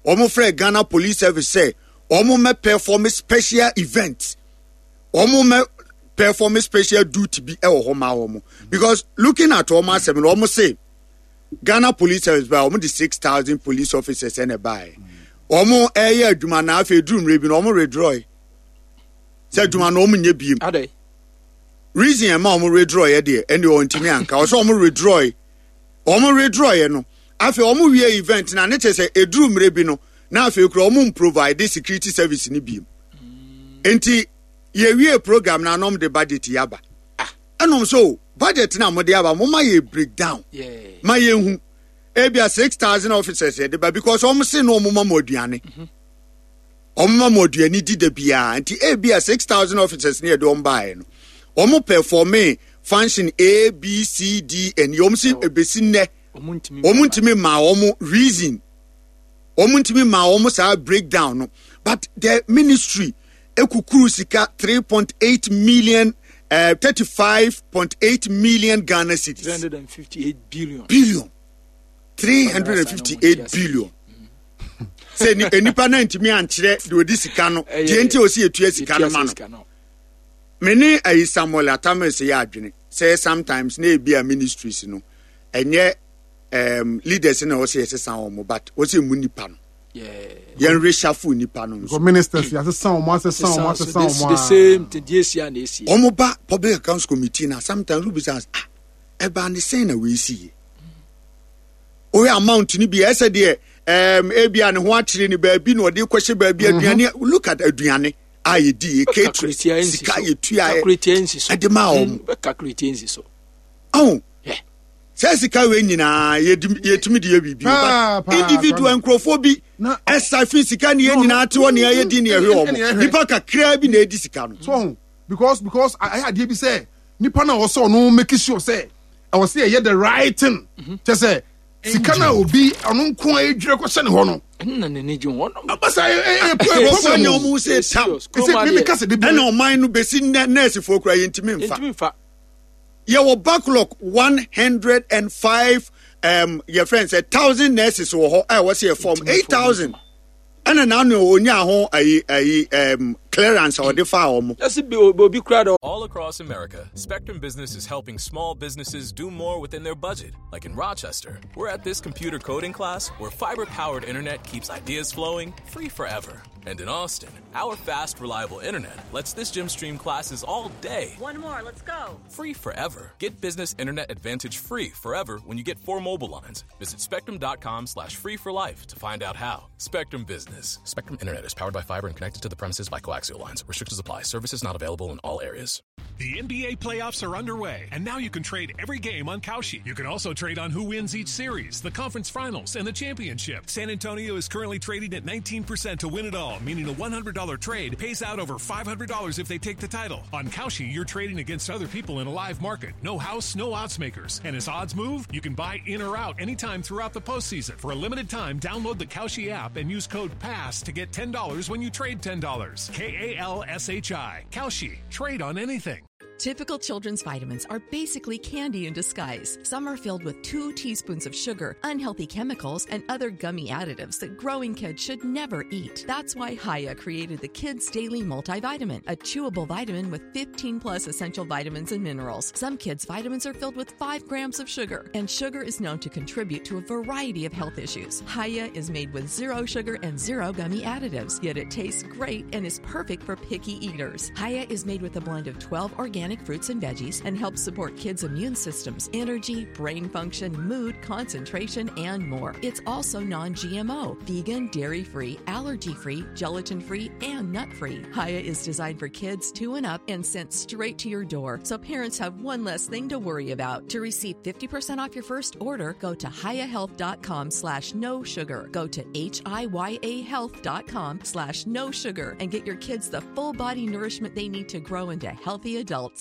wɔn frɛ Ghana Police Service sɛ wɔn mɛ perform special event, wɔn mɛ perform special duty bi ɛwɔ hɔ ma wɔn because looking at wɔn asɛm no wɔn se Ghana Police Service ba wɔn de 6,000 police officers ɛna ɛbaeɛ wɔn ɛyɛ adwuma na afei duru mmerɛ bi na wɔn withdraw sɛ adwuma no wɔn nyɛ biem reason ɛma wɔn withdraw yɛ deɛ ɛne wɔn ntumi anka ɔsɛ wɔn withdraw wɔn withdraw yɛ no afei wɔn wie event na ne kyɛ sɛ eduru mmerɛ bi no na afei kura wɔn provide security service ni biem nti yɛwie program na anam de budget yaba ah ɛnum so budget na mo de aba mo ma yɛ break down ma yɛ hu ebia 6,000 officers yɛ de ba because wɔn se no wɔn ma mo aduane. Mm -hmm. Wɔn ma mo aduane di da biara nti ebia 6,000 officers ne yɛde wɔn baeɛ no wɔn performe function A B C D and wɔn si ebesi nnɛ wɔn ntumi maa wɔn reason wɔn ntumi maa wɔn saa breakdown no but the ministry ekukuru sika 3.8 million. 35.8 million Ghana cedis. 358 billion. Billion. 358 billion. Sɛ nipa no antumi ankyerɛ deɛ ɔdi sika no deɛ nti ɔsi etua sika no ma no. Me ne ayi Samuel Atamis yɛ adwene sɛ sometimes na ebi a ministries no ɛnyɛ um, leaders na ɔsɛ yɛsesa wɔn but ɔsɛ mu nipa no. Yɛn reshuffle nipa no nso. Ministers yɛasesa wɔn asesa wɔn asesa wɔn the same thing deɛ esi a na esi. Wɔn ba public accounts committee na sometimes who bisa ah ɛbaa ne sɛn na wei si yie. Wohwɛ amount no bi ɛsɛ deɛ ɛɛm ebi a ne ho akyere ne baabi na ɔde kɔhyɛ baabi mhm. aduane look at aduane a yɛdi yɛ catering sika yɛtua ɛde maa wɔn. Ɔn sɛ sika wei nyinaa yɛtumi de yɛ biribi but individual nkurɔfoɔ bi ɛsa fi sika ne yɛ nyinaa te hɔ ne yɛ di ne yɛhwɛ wɔn nipa kakraa bi na edi sika no. So because ayɛ adeɛ bi sɛ nipa na ɔsɛ ɔno make sure sɛ ɛwɔ sɛ yɛyɛ the right thing mhm. kyɛ sɛ sika na obi ɔno nko a edwira kɔhyɛ ne hɔ no. ɛnna n'ani gye ho ɔno. abasa ɛ ɛ ɛ problem nyɛ ɔmo sɛ tam ɛsɛ mímí kasa de bi. Ɛnna ɔman no besi nnɛ nɛɛsifoɔ kura yɛn ntumi nfa. Yɛwɔ backlog 105 um, yɛ friend sɛ thousand nurses wɔ hɔ a ɛwɔ sɛ yɛ form 8,000. Ɛna n'ano onyaa ho ayi ayi clearance a ɔde faa wɔn. Yɛsi bi obi kura dɔ. All across America, Spectrum Business is helping small businesses do more within their budget. Like in Rochester, we're at this computer coding class where fiber-powered internet keeps ideas flowing free forever. And in Austin, our fast, reliable internet lets this gym stream classes all day. One more, let's go. Free forever. Get business internet advantage free forever when you get 4 mobile lines. Visit spectrum.com/free for life to find out how. Spectrum Business. Spectrum Internet is powered by fiber and connected to the premises by coaxial lines. Restrictions apply. Services not available in all areas. The NBA playoffs are underway, and now you can trade every game on Kalshi. You can also trade on who wins each series, the conference finals, and the championship. San Antonio is currently trading at 19% to win it all, meaning a $100 trade pays out over $500 if they take the title. On Kalshi, you're trading against other people in a live market. No house, no odds makers. And as odds move, you can buy in or out anytime throughout the postseason. For a limited time, download the Kalshi app and use code PASS to get $10 when you trade $10. K-A-L-S-H-I. Kalshi. Trade on anything. Typical children's vitamins are basically candy in disguise. Some are filled with 2 teaspoons of sugar, unhealthy chemicals, and other gummy additives that growing kids should never eat. That's why Hiya created the Kids Daily Multivitamin, a chewable vitamin with 15 plus essential vitamins and minerals. Some kids' vitamins are filled with 5 grams of sugar, and sugar is known to contribute to a variety of health issues. Hiya is made with 0 sugar and 0 gummy additives, yet it tastes great and is perfect for picky eaters. Hiya is made with a blend of 12 organic fruits and veggies and helps support kids' immune systems, energy, brain function, mood, concentration, and more. It's also non-GMO, vegan, dairy-free, allergy-free, gelatin-free, and nut-free. Hiya is designed for kids 2 and up and sent straight to your door, so parents have one less thing to worry about. To receive 50% off your first order, go to hiyahealth.com/no sugar. Go to hiyahealth.com/no sugar and get your kids the full body nourishment they need to grow into healthy adults.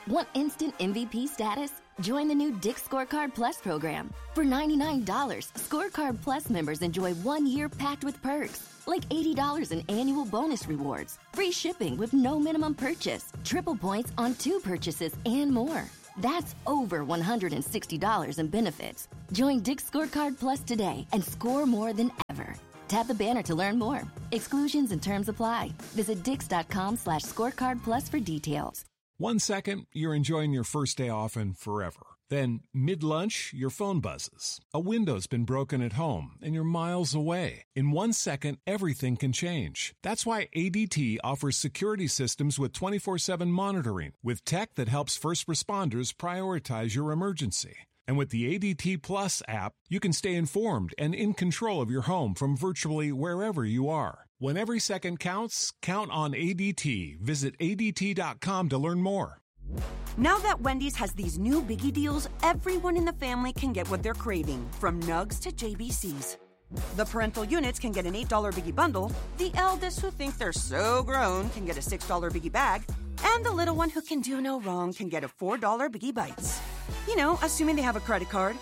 Want instant MVP status? Join the new Dick's Scorecard Plus program. For $99, Scorecard Plus members enjoy 1 year packed with perks, like $80 in annual bonus rewards, free shipping with no minimum purchase, triple points on 2 purchases, and more. That's over $160 in benefits. Join Dick's Scorecard Plus today and score more than ever. Tap the banner to learn more. Exclusions and terms apply. Visit dix.com slash scorecard plus for details. One second, you're enjoying your first day off and forever. Then, mid lunch, your phone buzzes. A window's been broken at home and you're miles away. In one second, everything can change. That's why ADT offers security systems with 24 7 monitoring, with tech that helps first responders prioritize your emergency. And with the ADT Plus app, you can stay informed and in control of your home from virtually wherever you are. When every second counts, count on ADT. Visit ADT.com to learn more. Now that Wendy's has these new biggie deals, everyone in the family can get what they're craving, from nugs to JBCs. The parental units can get an $8 biggie bundle, the eldest who think they're so grown can get a $6 biggie bag, and the little one who can do no wrong can get a $4 biggie bites. You know, assuming they have a credit card.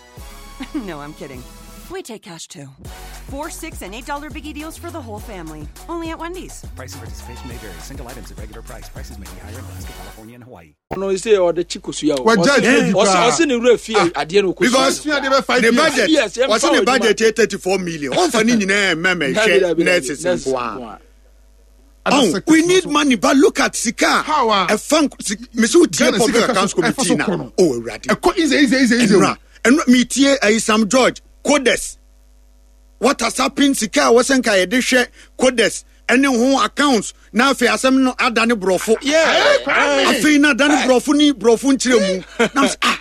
no, I'm kidding. We take cash too. $4, $6, and $8 biggie deals for the whole family. Only at Wendy's. Price and participation may vary. Single items at regular price. Prices may be higher in Alaska, California, and Hawaii. ɔno sɛ ɔde kyi kosua o Wagya adwuma bi ɔse koraa. ɔse ne wura fie adeɛ no kosua because Sua adeɛ bɛ five ne years. budget Yes, yɛmfa ɔsɛ ne wɔ budget yɛ 34 million ɔmfa ne nyinaa mɛmɛ Dabi, hwɛ dabi, dabi, nurses nurses nko a nko a. Oh, we need money but look at sika How a- ɛfa mesi wo tie Ghana public sika accounts so- ɛfa committee so na kɔ no. oh awurade ɛkɔ easy easy easy easy o. ɛnura ɛnura metie ayi Sam George codes what has happened sika a wɔsɛ nka yɛde hwɛ codes ɛne ho accounts na afei asɛm no adane borɔfo Yeah. Kwame. afei na adane borɔfo ne borɔfo nkyerɛ mu na m sɛ ah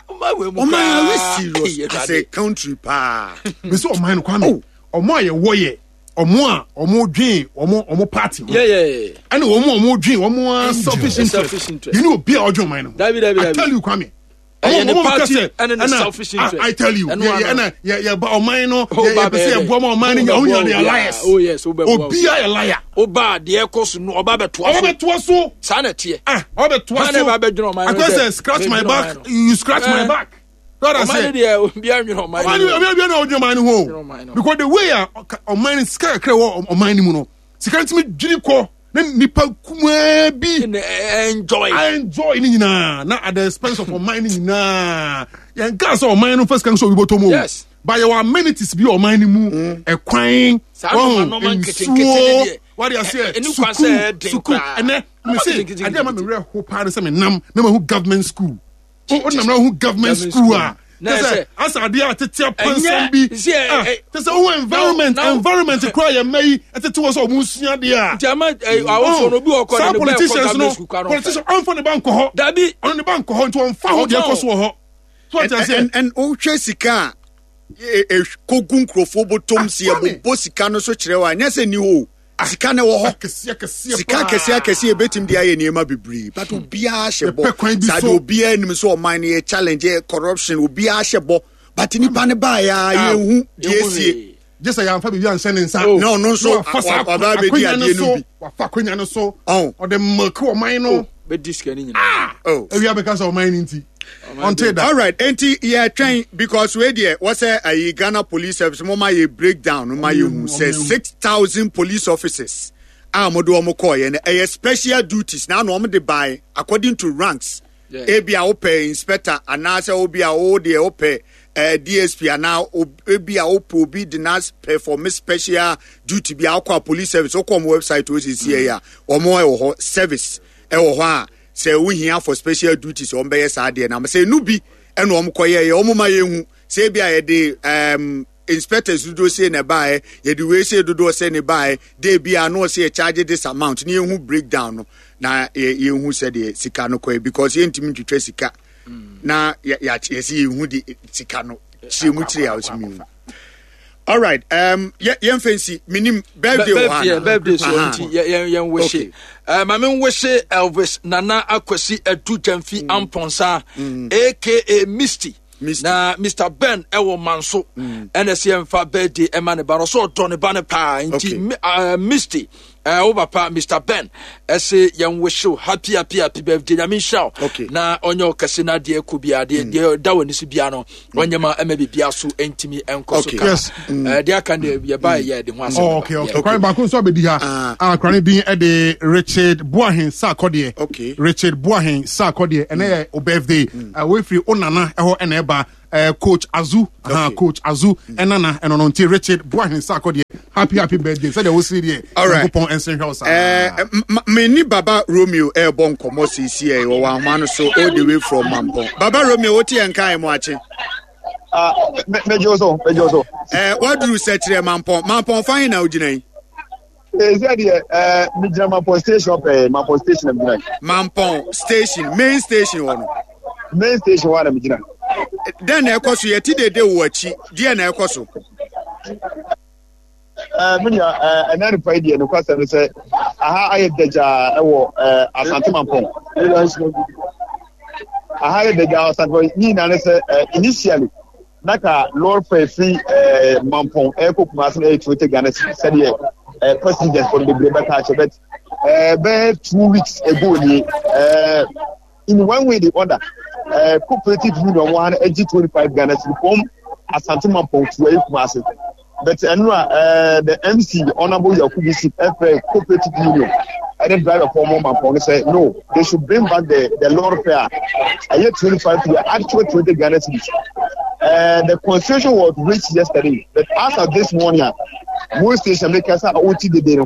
ɔman are we serious as a country paa mesi ɔman no kwame ɔmo a yɛwɔ yɛ ɔmo a ɔmo dwen ɔmo ɔmo party ho yɛyɛ ɛna ɔmo a ɔmo dwen ɔmo a selfish Selfish interest interest. yɛne obi a ɔdwen ɔman no ho Dabi, dabi, I dabi. tell you kwame Ɛyɛ ne ɔmo ka party sɛ, ɛne ne ɛna, selfish ah, interest. I tell you Ɛno yɛ yɛ ano. ɛna yɛ yɛ ba ɔman no Oh, yɛ ba yɛ pɛ sɛ bɛyɛ yɛ boa ma ɔman no dɛ. nya ɔmo nyinaa de Wobɛboa yɛ liars obiara. Oh, yes, wobɛboa obi a yɛ liar woba deɛ ɛkɔ so no ɔba bɛtoa ɔmo so bɛ toa so saa na ɛteɛ ah ɔmo bɛ toa Hwan na so ɛba bɛdwene ɔman no akɔ sɛ sɛ scratch my bɛdwene back ɔman no? you scratch my Eh. back lọ́dà ɔman sɛ no deɛ obiara nwene ɔman ɔman no no obi obi na ɔdwene ɔman no ho ɔman no. o because the way a ɔka- ɔman no sika kakra wɔ ɔman no mu no sika no tumi dwiri kɔ na nipa kumaa bi Na ɛ- enjoy I enjoy ne nyinaa na at the expense of ɔman no nyinaa yɛn kaa sɛ ɔman no first kan sɛ obi bɔtɔ mu o Yes. but yɛwɔ amenities bi wɔ ɔman no mu ɛkwan Saa nneɛma nneɛma nketenkete ne nsuo deɛ, wade aseɛ ɛ- ɛni kwan sɛ ɛyɛ den sukuu koraa. ɛnɛ Nneɛma mese nketenkete adeɛ a ma me werɛ ho paa ne sɛ menam na mahu government school o nam na mahu government Government school school. a Na kyɛ sɛ ɛsɛ- asa adeɛ a tete apansam Ɛnyɛ- bi see, ɛ- ah, ɛ- kyɛ sɛ wohu environment now- environment koraa yɛ mma yi ɛtete wɔ sɛ ɔmo nsua adeɛ a nti ama ɛ, awofoɔ no obi wɔ kɔ saa de ne ba ɛkɔ politicians no government school koraa no ɔmfa. politicians ɔmfa ne ba nkɔ hɔ dabi ɔno ne ba nkɔ hɔ nti ɔmfa ho deɛ Ɔmfa ɛkɔ ho. so wɔ hɔ so ɔte and aseɛ and and wohwɛ sika a e- e- kɔgu nkurɔfoɔ bɔtɔm si Ah, Kwame. ɛbobɔ sika no so kyerɛ wo a nyɛ sɛ ni hɔ o sika no wɔ hɔ akɛseɛ akɛseɛ sika akɛseɛ akɛseɛ yɛbɛtumi de ayɛ nneɛma bebree but obiara hyɛ bɔ Yɛpɛ kwan bi saa so. de obiara nim sɛ ɔman no yɛ challenge yɛ corruption obiara hyɛ bɔ but nipa no baeɛ a yɛnhu deɛ yɛnhu esie hwee. gye sɛ yɛamfa biribi anhyɛ ne nsa Oh. Na ɔno nso Na wafa saa waba abɛdi akonnwa adeɛ no so, bi. wafa akonnwa no so Ɔn. ɔde milk ɔman no bɛdi sika no nyinaa Oh. awia bɛka sɛ ɔman no nti ɔnte da all right enti yɛtwɛn because wei deɛ wɔsɛ ayi ghana police service mo ma yɛ breakdown mo ma yɛ hu sɛ 6,000 police officers a mo de wɔn kɔɔ yɛ no ɛyɛ special duties na ano wɔn de ban according to ranks Yeah. ebi a wopɛ inspector anaasɛ obi a wo deɛ wopɛ dsp anaa ebi a wopɛ obi de na perform special duty bi a wokɔ a police service wokɔ wɔn website o sisi yɛ a wɔn ɛwɔ hɔ service ɛwɔ hɔ a sɛ wohia for special duties wɔn bɛyɛ saa deɛ na sɛ enu bi ɛna wɔn kɔ yɛ yɛ wɔn ma yɛ hu sɛ ebi a yɛde inspectors dodoɔ se na ɛbaeɛ yɛde wei se dodoɔ se na ɛbaeɛ de bi a no ɔse yɛ charge this amount ne yɛhu breakdown no na yɛhu sɛdeɛ sika no kɔɛ because yɛntumi ntwitwa sika na yɛsɛ yɛhu de sika no kyerɛ mu kyerɛ a ɔsɛ mehu all right yɛmfa nsi menim birthday wɔ ha yeah, anaa? birthday so Aha. nti yɛn wihye maame nwihye elvis nana akwasi adu gyamfi amponsa aka misty Misty. na mr ben ɛwɔ manso ɛna sɛ yɛmfa birthday ɛma ne ba no so ɔdɔ ne ba no paa nti Okay. Misty Wo papa Mr Ben ɛse yɛn wish you happy happy happy birthday. Nyame nhyira wo. Okay. Na ɔnyɛ wo kɛse na adeɛ kɔ biara deɛ deɛ da w'ani so biara no ɔnyɛ ma ɛma biribiara so ntumi ɛnkɔ so Okay. kama. Yes. Deɛ aka deɛ yɛba yɛ de ho asɛm. Oh, okay, okay. Yeah. Kwan baako nso abɛdi ha. Ah, kwan din ɛde Richard Boahen Sarkodie. Okay. Richard Boahen Sarkodie. Ɛnɛ yɛ o birthday. Wefiri o nana ɛhɔ ɛna ɛba. Coach Azu. Aha, Okay. Coach Azu ɛnana ɛno no nti Richard Boahen Sarkodie. Happy happy birthday. Sɛdeɛ wosiri deɛ. All right. Nyankopɔn ɛnsen hwɛ wo saa. Me ni Baba Romeo ɛrebɔ nkɔmmɔ seesie ɛ wɔ ahoma no so all the way from Mampɔn. Baba Romeo wote yɛn nka ɛ mo akye. Ah, megye wo so, megye wo so. Waduru sɛkyerɛ Mampɔn. Mampɔn fa he na wogyina yi? Sɛ deɛ megyina Mampɔn station pɛɛ, Mampɔn station na megyina. Mampɔn station, main station hɔ no. Main station hɔ a na megyina. Dɛn na ɛkɔ so? Yɛte dede wɔ akyi. Deɛ na ɛkɔ so? Me nua, ɛnɛ anɔpa yi deɛ nokwasɛm ne sɛ aha ayɛ dagyaa ɛwɔ Asante Mampɔn. Aha ayɛ dagyaa wɔ Asante Mampɔn. Ne nyinaa ne sɛ initially na ka lɔre fɛ firi Mampɔn ɛrekɔ Kumasi na ɛyɛ 20 Ghana cedis sɛdeɛ passengers fɔ no bebree bɛka akyɛ but bɛyɛ 2 weeks ago nie in one way the other cooperative union wɔn ha no agye 25 Ghana cedis from Asante Mampɔn to ɛyɛ Kumasi. But ɛno a the MC Honourable Yakubu Sip ɛfrɛ cooperative union ɛne driver fɔ ɔmo Mampɔn no sɛ no, they should bring back the lorry fare a ɛyɛ 25 to the actual 20 Ghana cedis. The constitution was reached yesterday, but as of this morning a mo station mi kasa a ɔti dede no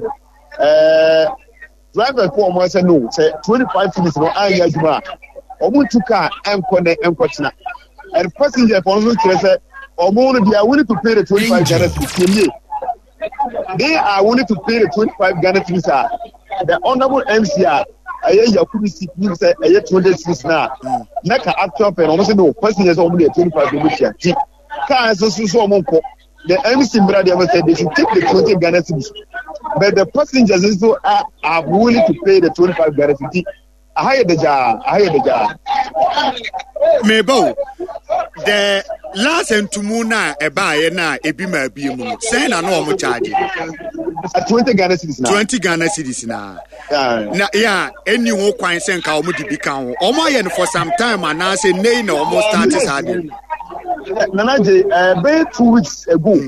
driver fɔ ɔmo sɛ no, sɛ 25 cedis no anyɛ adwuma a ɔmo ntu car ɛnkɔ ne ɛnkɔ tena, and passenger fɔ no nso kyerɛ sɛ ɔmo no they are willing to pay the 25 Ghana cedis. Yɛ they are willing to pay the 25 Ghana cedis a the honourable MC a ɛyɛ Yakubu Sip nim sɛ ɛyɛ 200 cedis na na ka actual fare no ɔmo sɛ no, passenger sɛ ɔmo deɛ 25 ɔmo tua ti car nso so ɔmo nkɔ. The MC mbra deɛ ɔmo sɛ they should take the 20 Ghana cedis, but the passengers nso are willing to pay the 25 Ghana cedis. Aha yɛ dagyaa, aha yɛ dagyaa. Meba o, the last ntumu na ɛbaayɛ na ebi ma ebie mu no sɛn na na wɔn charge? 20 Ghana cedis na. 20 Ghana cedis na. Na ya ɛni ho kwan sɛ nka wɔn de bi ka ho. Wɔn ayɛ no for some time anaasɛ nei na wɔn start saa de? Nana Gye, bɛyɛ 2 weeks ago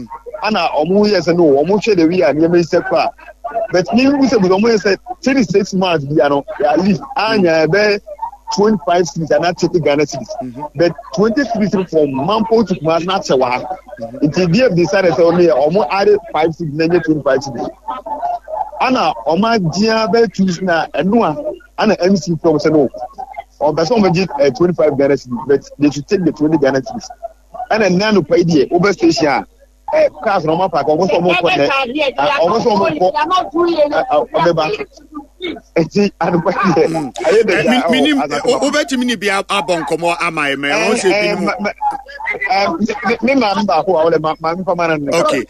ana ɔmo yɛ sɛ no, ɔmo hwɛ the way a nneɛma yi sɛ kɔ a, but mi n sɛ ɔmo yɛ sɛ 36 months bia no at least anya ɛbɛyɛ 25 cedis ana 30 Ghana cedis, but 20 cedis from Mampong to Kumasi na akyɛ wɔ ha, nti bi decide sɛ ɔmo yɛ ɔmo add 5 cedis na nye 25 cedis ana ɔmo agyea bɛyɛ 2 weeks na ɛno a ana MC from sɛ no, ɔmpɛ sɛ ɔmo gye 25 Ghana cedis, but they should take the 20 Ghana cedis. Ɛna nna anɔpa yi deɛ wobɛ station a cars na ɔmo apaaki, ɔmo sɛ ɔmo kɔ nɛ, ɔmo sɛ ɔmo kɔ ɔbɛba, eti anɔpa yi deɛ ɛyɛ dɛ gya ɛwɔ Minim Asante Mampɔn. wobɛtumi ne bi abɔ nkɔmmɔ ama yɛ mɛ ɔn sɛ binom. Me maame baako a ɔlɛ maame fama na ne. Okay,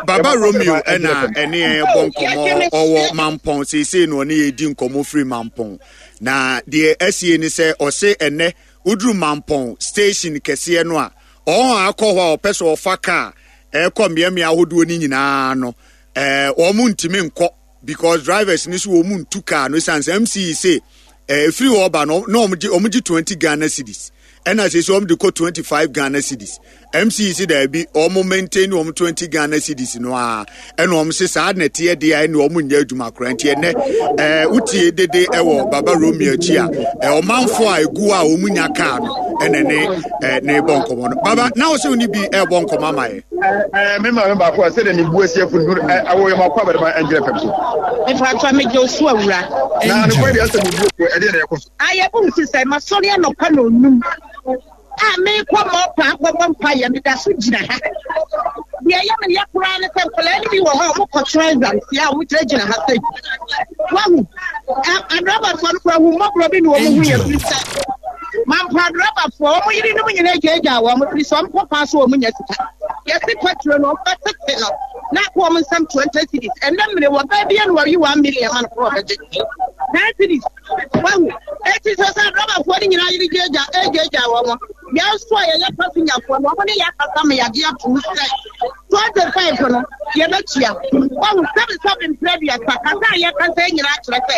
Baba Romeo ɛna ɛne yɛn bɔ nkɔmmɔ, ɔwɔ Mampɔn seesei na ɔne yɛn di nkɔmmɔ firi Mampɔn, na deɛ asie ne sɛ ɔse ɛnɛ woduru Mampɔn station kɛseɛ no a, ɔhɔn a akɔ hɔ a ɔpɛ sɛ ɔfa kaa ɛrekɔ mmeammea ahodoɔ no nyinaa no, wɔn ntumi nkɔ because drivers no so wɔn ntu kaa no esan sɛ MC se efiri hɔ ba no na wɔn gye 20 Ghana cedis, ɛna sɛ wɔn de kɔ 25 Ghana cedis. MC se daabi, wɔn maintain wɔn 20 Ghana cedis no a, ɛna wɔn se saa na ɛteɛ deɛ a ɛna wɔn nyɛ adwuma koraa. Nti ɛnɛ wotie dede ɛwɔ Baba Romeo akyi a ɔmanfo a egu a wɔn nya kaa no ɛna ne ne bɔ nkɔmɔ no. Baba na wɔsɛ wɔn ni bi ɛbɔ nkɔmɔ ama yɛ. Me maame baako a sɛdeɛ ne bu asi afu no awɔ yɛ makɔ abɛdema ɛngyerɛ fam so. Mepatwa megye osu awura. Na nokware deɛ asɛ mu bu afu ɛdeɛ na ɛkɔ so. Ayɛ bu nti sɛ masɔre anɔpa na onum a merekɔ mɔpa akɔbɔ mpaeɛ, meda so gyina ha. Deɛ ɛyɛ me ya koraa ne sɛ nkwadaa no bi wɔ hɔ a wɔkɔtwerɛ exams a wɔgyinagyina ha sɛ wahu adrabafoɔ no koraa hu mmɔborɔ bi na wɔn hu yɛ firi sɛ mampa adrabafoɔ wɔn yerenom nyinaa gyaagyaa wɔn firi sɛ wɔn kɔ kwan so wɔn nya sika. Yɛsi pɛtro no wɔn bɛtete no na akɔ wɔn nsam 20 cedis. Ɛnɛ mmere wɔ baa bi na wɔyi 1 million ma no korɔ ɔbɛgye 10 cedis wahu. Eti sɛ sɛ adrabafoɔ no nyinaa yere gyaagyaa ɛgyaagyaa wɔn. Yɛn nso a yɛyɛ pasenyafoɔ no, wɔn ne yɛn akasa ma yɛagye atom sɛ 25 no yɛbɛtua. Wahu sɛbesɛbe mprɛ aduasa, kasa a yɛkasa yi nyinaa kyerɛ sɛ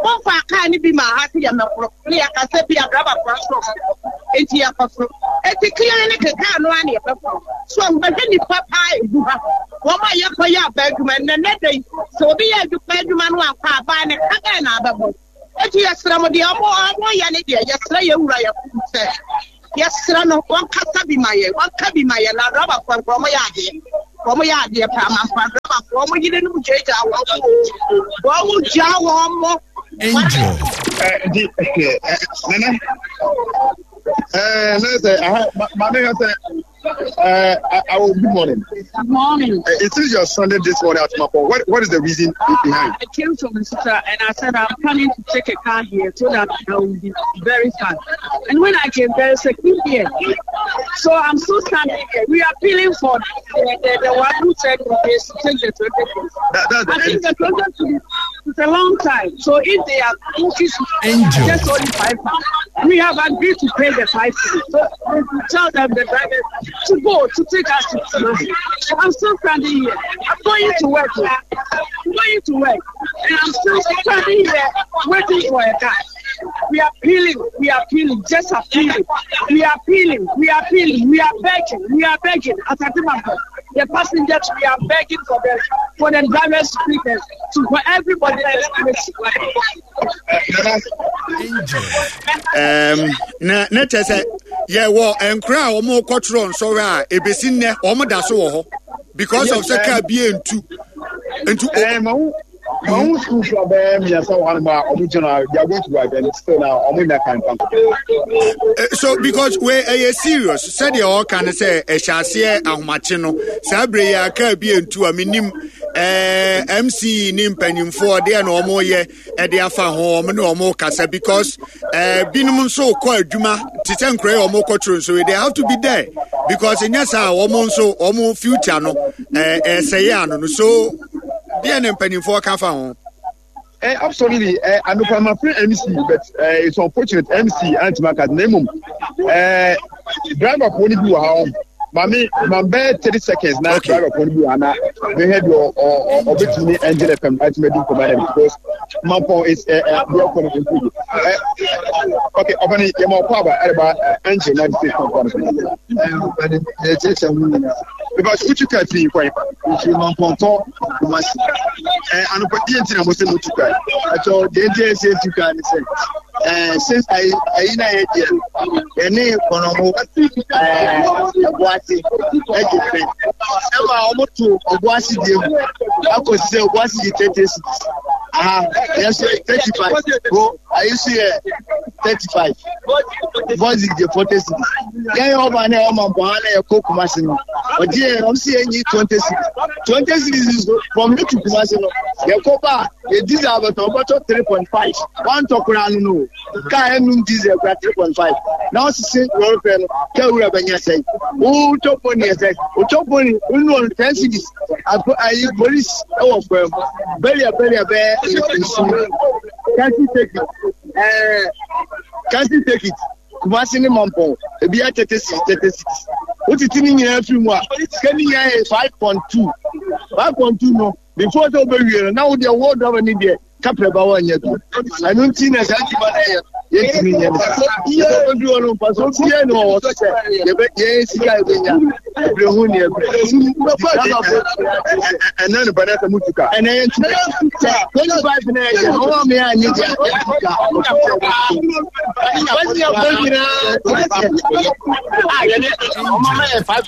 momfaa kaa no bi maa ha sɛ yɛmmɛforo, ne yɛkasa bi adrabafoɔ nso wɔn nkɔ, enti yɛkɔforo. Eti kea ne ke kaa no ara na yɛbɛforo. So ahu, bɛhwɛ nnipa paa egu ha, wɔn a yɛkɔyɛ aba adwuma nnɛ, nnɛ da yi, sɛ obi yɛ adwuma adwuma no ankɔ a, abaa ne ka bɛn na abɛbɔ? Eti yɛsrɛ mo deɛ ɔmo ɔmo yɛ ne deɛ yɛsrɛ yɛn wura Yakubu sɛ yɛsrɛ no wɔnkasa bi ma yɛn wɔnka bi ma yɛn na adrabafoɔ nka ɔmo yɛ adeɛ ɔmo yɛ adeɛ paa mampa adrabafoɔ ɔmo yerenom gyaagyaa wɔn mo o wɔn gyaa wɔn mo. Angel. Nti nana ɛɛ ne sɛ aha maame ka sɛ. Good morning. Good morning. It is your Sunday this morning at Mapo. What is the reason behind? I came from Nsuta and I said I'm coming to take a car here so that I will be very fast. And when I came, there is a queue here. So I'm still standing here. We are appealing for the one who said we should take the 20 I think the 20 it's a long time. So if they are increasing just only 5, we have agreed to pay the 5. So tell them the drivers to go to take us to Kumasi. I'm still standing here. I'm going to work. I'm going to work. And I'm still standing here waiting for a car. We are appealing, we are appealing, just appealing. We are appealing, we are appealing, we are begging, we are begging. As a the passengers, we are begging for the drivers to pick us, to for everybody to Na na kyerɛ sɛ yɛwɔ nkora a wɔn kɔtwerɛ nsɔhwɛ a ebesi nnɛ wɔn da so wɔ hɔ because of sɛ kaa bi ntu ntu. Mahu school fo abɛɛ mmiɛnsa wɔ hanom a wɔn gyina they are going to work and still na wɔn nya kan pa. So because we ɛyɛ serious sɛdeɛ ɔka no sɛ ɛhyɛ aseɛ ahomakye no saa bere yi aka bi ntu a menim ɛɛ MC ne mpanyinfoɔ deɛ na wɔn yɛ ɛde afa ho wɔn ne wɔn kasa because ɛɛ binom nso kɔ adwuma te sɛ nkura yi wɔn kɔ toro nso they have to be there because nyɛ saa wɔn nso wɔn future no ɛɛ ɛsɛyɛ ano no so. Deɛ ne mpanimfoɔ ka fa ho. Eh, absolutely. Eh, anokwa ma frɛ MC, but eh, it's unfortunate MC antumi aka na mmom eh, driver foɔ no bi wɔ ha wɔn. Maame, ma bɛyɛ 30 seconds na okay. driver foɔ no bi wɔ ha na mehwɛ deɛ ɔbɛtumi ne Angel FM atumi adi nkɔmɔ ayɛ because Mampɔn is eh, eh, deɛ ɔkɔ no mpo yi. Eh, okay, ɔbɛne yɛ ma ɔkɔ aba ɛreba Angel 96.1. Eh, ɔbɛne, yɛkyerɛkyerɛ mu nyinaa. Because wotu kaa fii kwan fa. Mfiri Mampɔntɔ Kumasi. Ɛɛ anɔpa deɛ nti na mo sɛ mo tu kaa? Ɛtɔ deɛ nti a ɛsɛ tu kaa ne sɛ ɛɛ since ayi ayi na yɛ deɛ yɛne kɔnɔmo ɛɛ ɛboase ɛgye fɛ ɛma wɔn to ɔboase deɛ mu akɔsi sɛ ɔboase gye 30 cedis aha yɛn nso 35 bo ayi nso yɛ 35 bɔzi gye 40 cedis. Yɛn yɛ ɔba na ɛwɔ Mampɔn ha na yɛkɔ Kumasi no ɔgye yɛn ɔmo si yɛn nyi 20 cedis, 20 cedis nso from here to Kumasi no yɛkɔ ba a yɛ diesel abɛtɔ ɔbɛtɔ 3.5 wantɔ koraa no no kaa ɛnum diesel kora 3.5 na ɔsese lɔri fɛ no kaa wura bɛnya sɛn wotɔ poni ɛsɛ wotɔ poni wonu ɔno 10 cedis apo ayi polisi ɛwɔ fam bɛlia bɛlia bɛyɛ nsu kansi take it ɛɛ kansi take it. Kumasi ne Mampɔn, ebiara 30 cedis, 30 cedis. Wotete ne nyinaa firi mu a, sika ne nyinaa yɛ 5.2. 5.2 no, before sɛ wobɛwie no, na wo deɛ wo driver ne deɛ kaprɛ ba woanyɛ bi. Ɛno nti na saa adwuma no yɛ yɛntumi nyɛ no saa. Sɛ wobɛduru hɔ no, mfasoɔ biara ni wɔ so sɛ yɛbɛ yɛn sika yɛbɛnya ɛbrɛ ho ne ɛbrɛ. Ɛnɛ no bɛnɛ sɛ mutu ka. Ɛnɛ yɛn tu ka. 25 na yɛ ɔwɔ mi a nye deɛ yɛtu ka. Wọ́n yẹ kó nyinaa. A yẹ ní ọmọ mẹ yẹ five.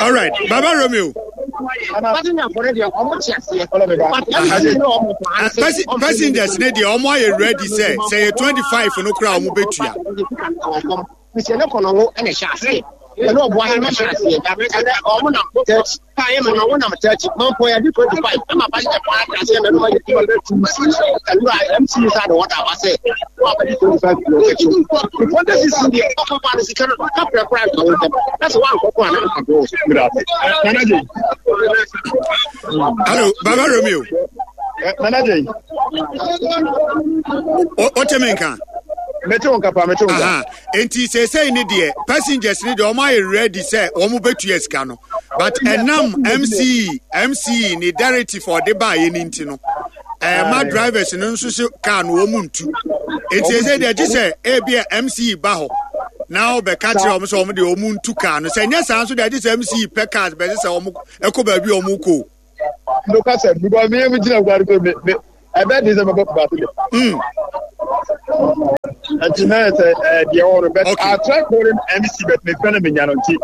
All right, Baba Romeo. Passengers ne deɛ ɔmo ayɛ ready sɛ yɛ 25 no koraa ɔmo bɛtua. Ɛna ɔboa yɛ mɛhyɛ aseɛ. Ɛnɛ ɔmo nam 30. Kaa yɛ ma na ɔmo nam 30. Mampɔn yɛ de 25. Ɛma ba yɛ paa aseɛ na ɛno ma yɛ ti ma bɛ tu. Ɛnura MC nsa de wɔda aba sɛ wɔn abɛdi 25 billion kɛkyi. Nfɔnde sisi deɛ ɔkɔ ba no sika no kapra kora nka wɔn ntɛm. Na sɛ wɔankɔ kɔ a na nka do. Nana Jay. Hello, Baba Romeo. Nana Jay. O te me nka. Mete wo nka pa, mete wo nka. Enti seesei ne deɛ passengers ne deɛ wɔn ayɛ ready sɛ wɔn bɛtua sika no. But ɛnam MCE MCE ne directive ɔde baayɛ ne nti no ɛma drivers no nso se car no wɔn ntu. Enti seesei deɛ gye sɛ ebi a MCE ba hɔ na ɔbɛka kyerɛ wɔn sɛ wɔn deɛ wɔn ntu car no. Sɛ nyɛ saa nso deɛ gye sɛ MCE pɛ cars bɛsɛ sɛ wɔn ɛkɔ baabi a wɔn kɔ. No kasa because me me gyina gua ko me me ɛbɛ de sɛ mɛbɔ kuma ase de. Nti na yɛ sɛ ɛɛ deɛ ɔwɔ no but I try calling MC but me fɛn mi nya no nti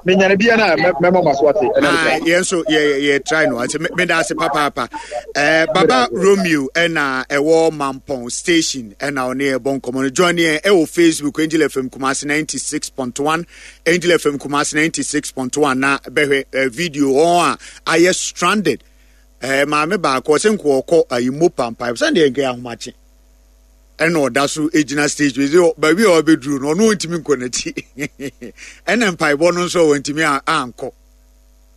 me nya no bi yɛ na mɛmɔ ma so ate. Ah, yɛn nso yɛ yɛ try no ase me da ase papaapa ɛɛ Baba Romeo ɛna ɛwɔ Mampɔn station ɛna ɔne yɛ bɔ nkɔmɔ no join yɛn ɛwɔ Facebook Angel FM Kumasi 96.1 Angel FM Kumasi 96.1 na bɛhwɛ eh, video wɔn a ayɛ stranded eh, maame baako ɔsɛ nko ɔkɔ ayi mo pampa sɛ deɛ nka ahomakye ɛna ɔda so gyina stage bi baabi a ɔbɛduru no ɔno ɔntumi nkɔ n'akyi ɛna mpaebɔ no nso ɔntumi ankɔ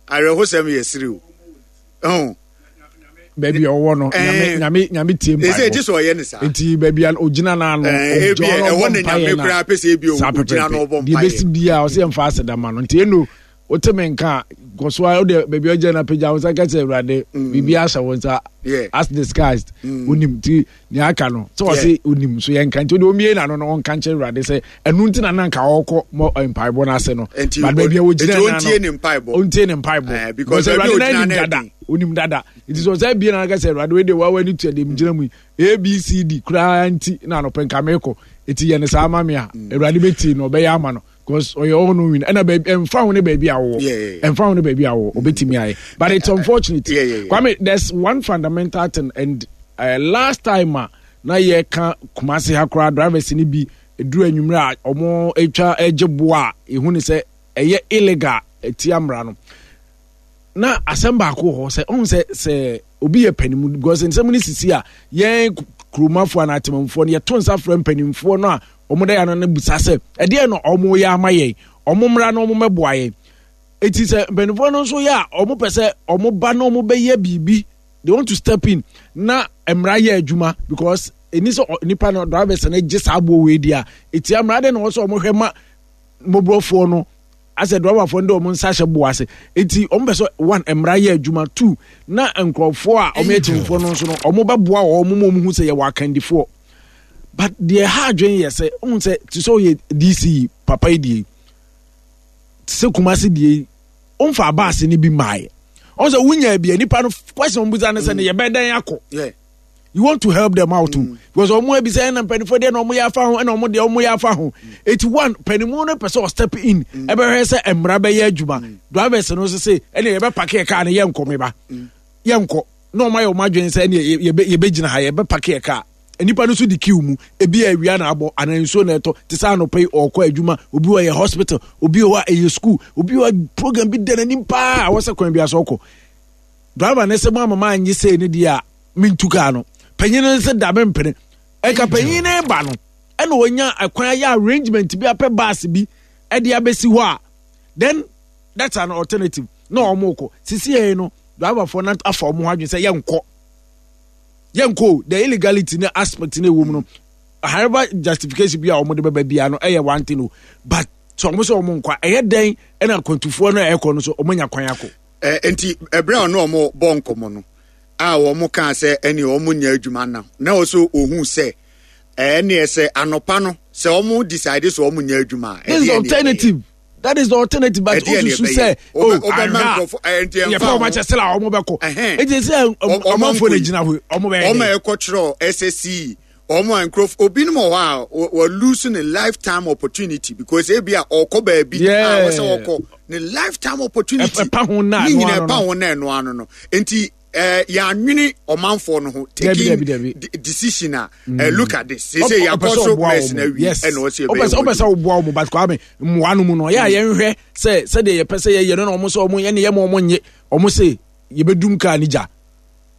awerɛhosɛm yɛ serew oh. baabi a ɔwɔ no nyame nyame nyame tie mpaebɔ ɛsɛ gye sɛ ɔyɛ ne saa nti baabi a ogyina no ano eh, ebi ɛhɔ na nyame koraa pɛ sɛ ebi ogyina no ɔbɔ mpaeɛ deɛ bɛsi biara ɔsɛ yɛmfa aseda ma no nti ɛno wote me nka kɔ so a wode baabi a ɔgyina no apagya wo nsa ka kyerɛ awurade mm. biribi ahyɛ wo nsa as discussed mm. wonim nti nea aka no sɛ ɔse onim so yɛnka nti wode ɔmie n'ano no ɔnka nkyerɛ awurade sɛ ɛno nti na na nka ɔkɔ mɔ eh, mpaebɔ no ase no but baabi a wɔgyina no ɔntie ne mpaebɔ eh, because awurade no anim dada onim dada nti sɛ ɔsɛ bie na aka sɛ awurade wei deɛ wawa ne tua deɛ megyina mu yi abcd koraa nti na anɔpɛ nka mekɔ ɛti yɛ ne saa ma me a mm. awurade bɛtie no ɔbɛyɛ ama no because ɔyɛ all knowing ɛna baabi ɛnfa ho ne baabi a wɔwɔ ɛnfa ho ne baabi a wɔwɔ obetumi ayɛ but it's unfortunate yeah, yeah, yeah. Kwame there's one fundamental thing and uh, last time a na yɛ ka Kumasi ha koraa drivers ni bi eduru enyimire a wɔn atwa ɛgye boa a ehu ne sɛ ɛyɛ illegal etia mmara no na asɛm baako wɔ hɔ sɛ ɔn sɛ sɛ obi yɛ panimu because nsɛm no sisi a yɛn kuromafoɔ anaa atemamfoɔ no yɛto nsa frɛ mpanimfoɔ no a wɔn da yɛn ano no bisa sɛ ɛdeɛ na wɔn yɛ ama yɛn wɔn mmra na wɔn mmɛboa yɛn eti sɛ mpanimfoɔ no nso yɛ a wɔn pɛ sɛ wɔn ba na wɔn bɛyɛ biribi they want to step in na mmara yɛ adwuma because ɛni sɛ nipa no drivers no gye saa aboɔ wei di a etia mmara de na wɔn sɛ wɔn hwɛ ma mmɔborɔfoɔ no asɛ driverfoɔ no de wɔn nsa ahyɛ boɔ ase eti wɔn pɛ sɛ one mmara yɛ adwuma two na nkurɔfoɔ a wɔn yɛ kyɛnfoɔ no nso no wɔn bɛboa wɔn mu wɔn hu sɛ yɛwɔ akandifoɔ but deɛ ɛha adwene yɛ sɛ ohun sɛ te sɛ ɔyɛ dc papa yi deɛ te sɛ kumasi deɛ yi ɔnfa abaase no bi mmaayɛ ɔn sɛ wunya bi a nipa no question wɔn bisa ne sɛ ne yɛ bɛ dɛn akɔ you want to help them out too mm. because wɔn ebisa ɛna mpanyinfoɔ deɛ na wɔn yɛ afa ho ɛna wɔn deɛ wɔn yɛ afa ho eti one panyinmu no pɛ sɛ ɔstep in ɛbɛhwɛ sɛ mmara bɛyɛ adwuma drivers no nso se ɛna yɛ bɛ pake yɛ kaa no yɛ nkɔ meba yɛ nkɔ na wɔn ayɛ wɔn adwene sɛ ɛna yɛ bɛ gyina ha yɛ bɛ pake yɛ kaa nnipa no nso di kiw mu ebi a awia na abɔ anaa nsuo na ɛtɔ te sɛ anɔpa yi ɔrekɔ adwuma obi wɔ yɛ hospital obi wɔ hɔ a ɛyɛ school obi wɔ program bi da n'anim paa a wɔsɛ kwan bi aso ɔkɔ driver ne sɛ mo ama maa nye sei ne deɛ a mentu kaa no panyin no sɛ da mempene ɛka panyin no ba no ɛna wɔnya ɛkwan ayɛ arrangement bi apɛ bus bi ɛde abɛsi hɔ a then that's an alternative na wɔn kɔ sisi yɛn no driverfoɔ no afa wɔn ho adwene sɛ yɛnkɔ yɛnkɔ o the illegality ne aspect ne ɛwɔ mu no however justification bi a wɔn de bɛba biara no ɛyɛ one thing o but sɛ wɔn sɛ wɔn nkɔ ɛyɛ dɛn ɛna akwantufoɔ no a ɛkɔ no so wɔn anya kwan akɔ. Ɛ nti ɛberɛ a ɔne wɔn bɔ nkɔmmɔ no a wɔn kaa sɛ ɛne wɔn nyɛ adwuma na na ɔso ohun sɛ ɛneɛ sɛ anɔpa no sɛ wɔn decide sɛ wɔn nyɛ adwuma a this is alternative that is the alternative but osusu sɛ o ahwɛ a yɛpɛ wɔn akyɛ sɛ la wɔn bɛkɔ eti sɛ ɔmanfoɔ na gyina hɔ wɔn bɛyɛ dɛ. wɔn a ɛkɔ kyerɛ SSC wɔn a nkurɔfo obinom wɔ hɔ a wɔ lose ne lifetime opportunity because ebi a ɔkɔ baabi a wɔsɛ ɔkɔ ne lifetime opportunity ɛpa ho na ne nyinaa ɛpa ho na ɛno ano no nti. yɛanwene ɔmanfoɔ no ho taking decision a look at this sese yɛakɔ so mess na awie ɛna ɔsɛ ɛbɛyɛ wɔn ɔpɛ sɛ ɔboa wɔn but Kwame mmoa no mu no ɔyɛ a yɛnhwɛ sɛ sɛdeɛ yɛpɛ sɛ yɛyɛ no na wɔn sɛ wɔn yɛne yɛ ma wɔn nye wɔn se yɛbɛdum kaa ne gya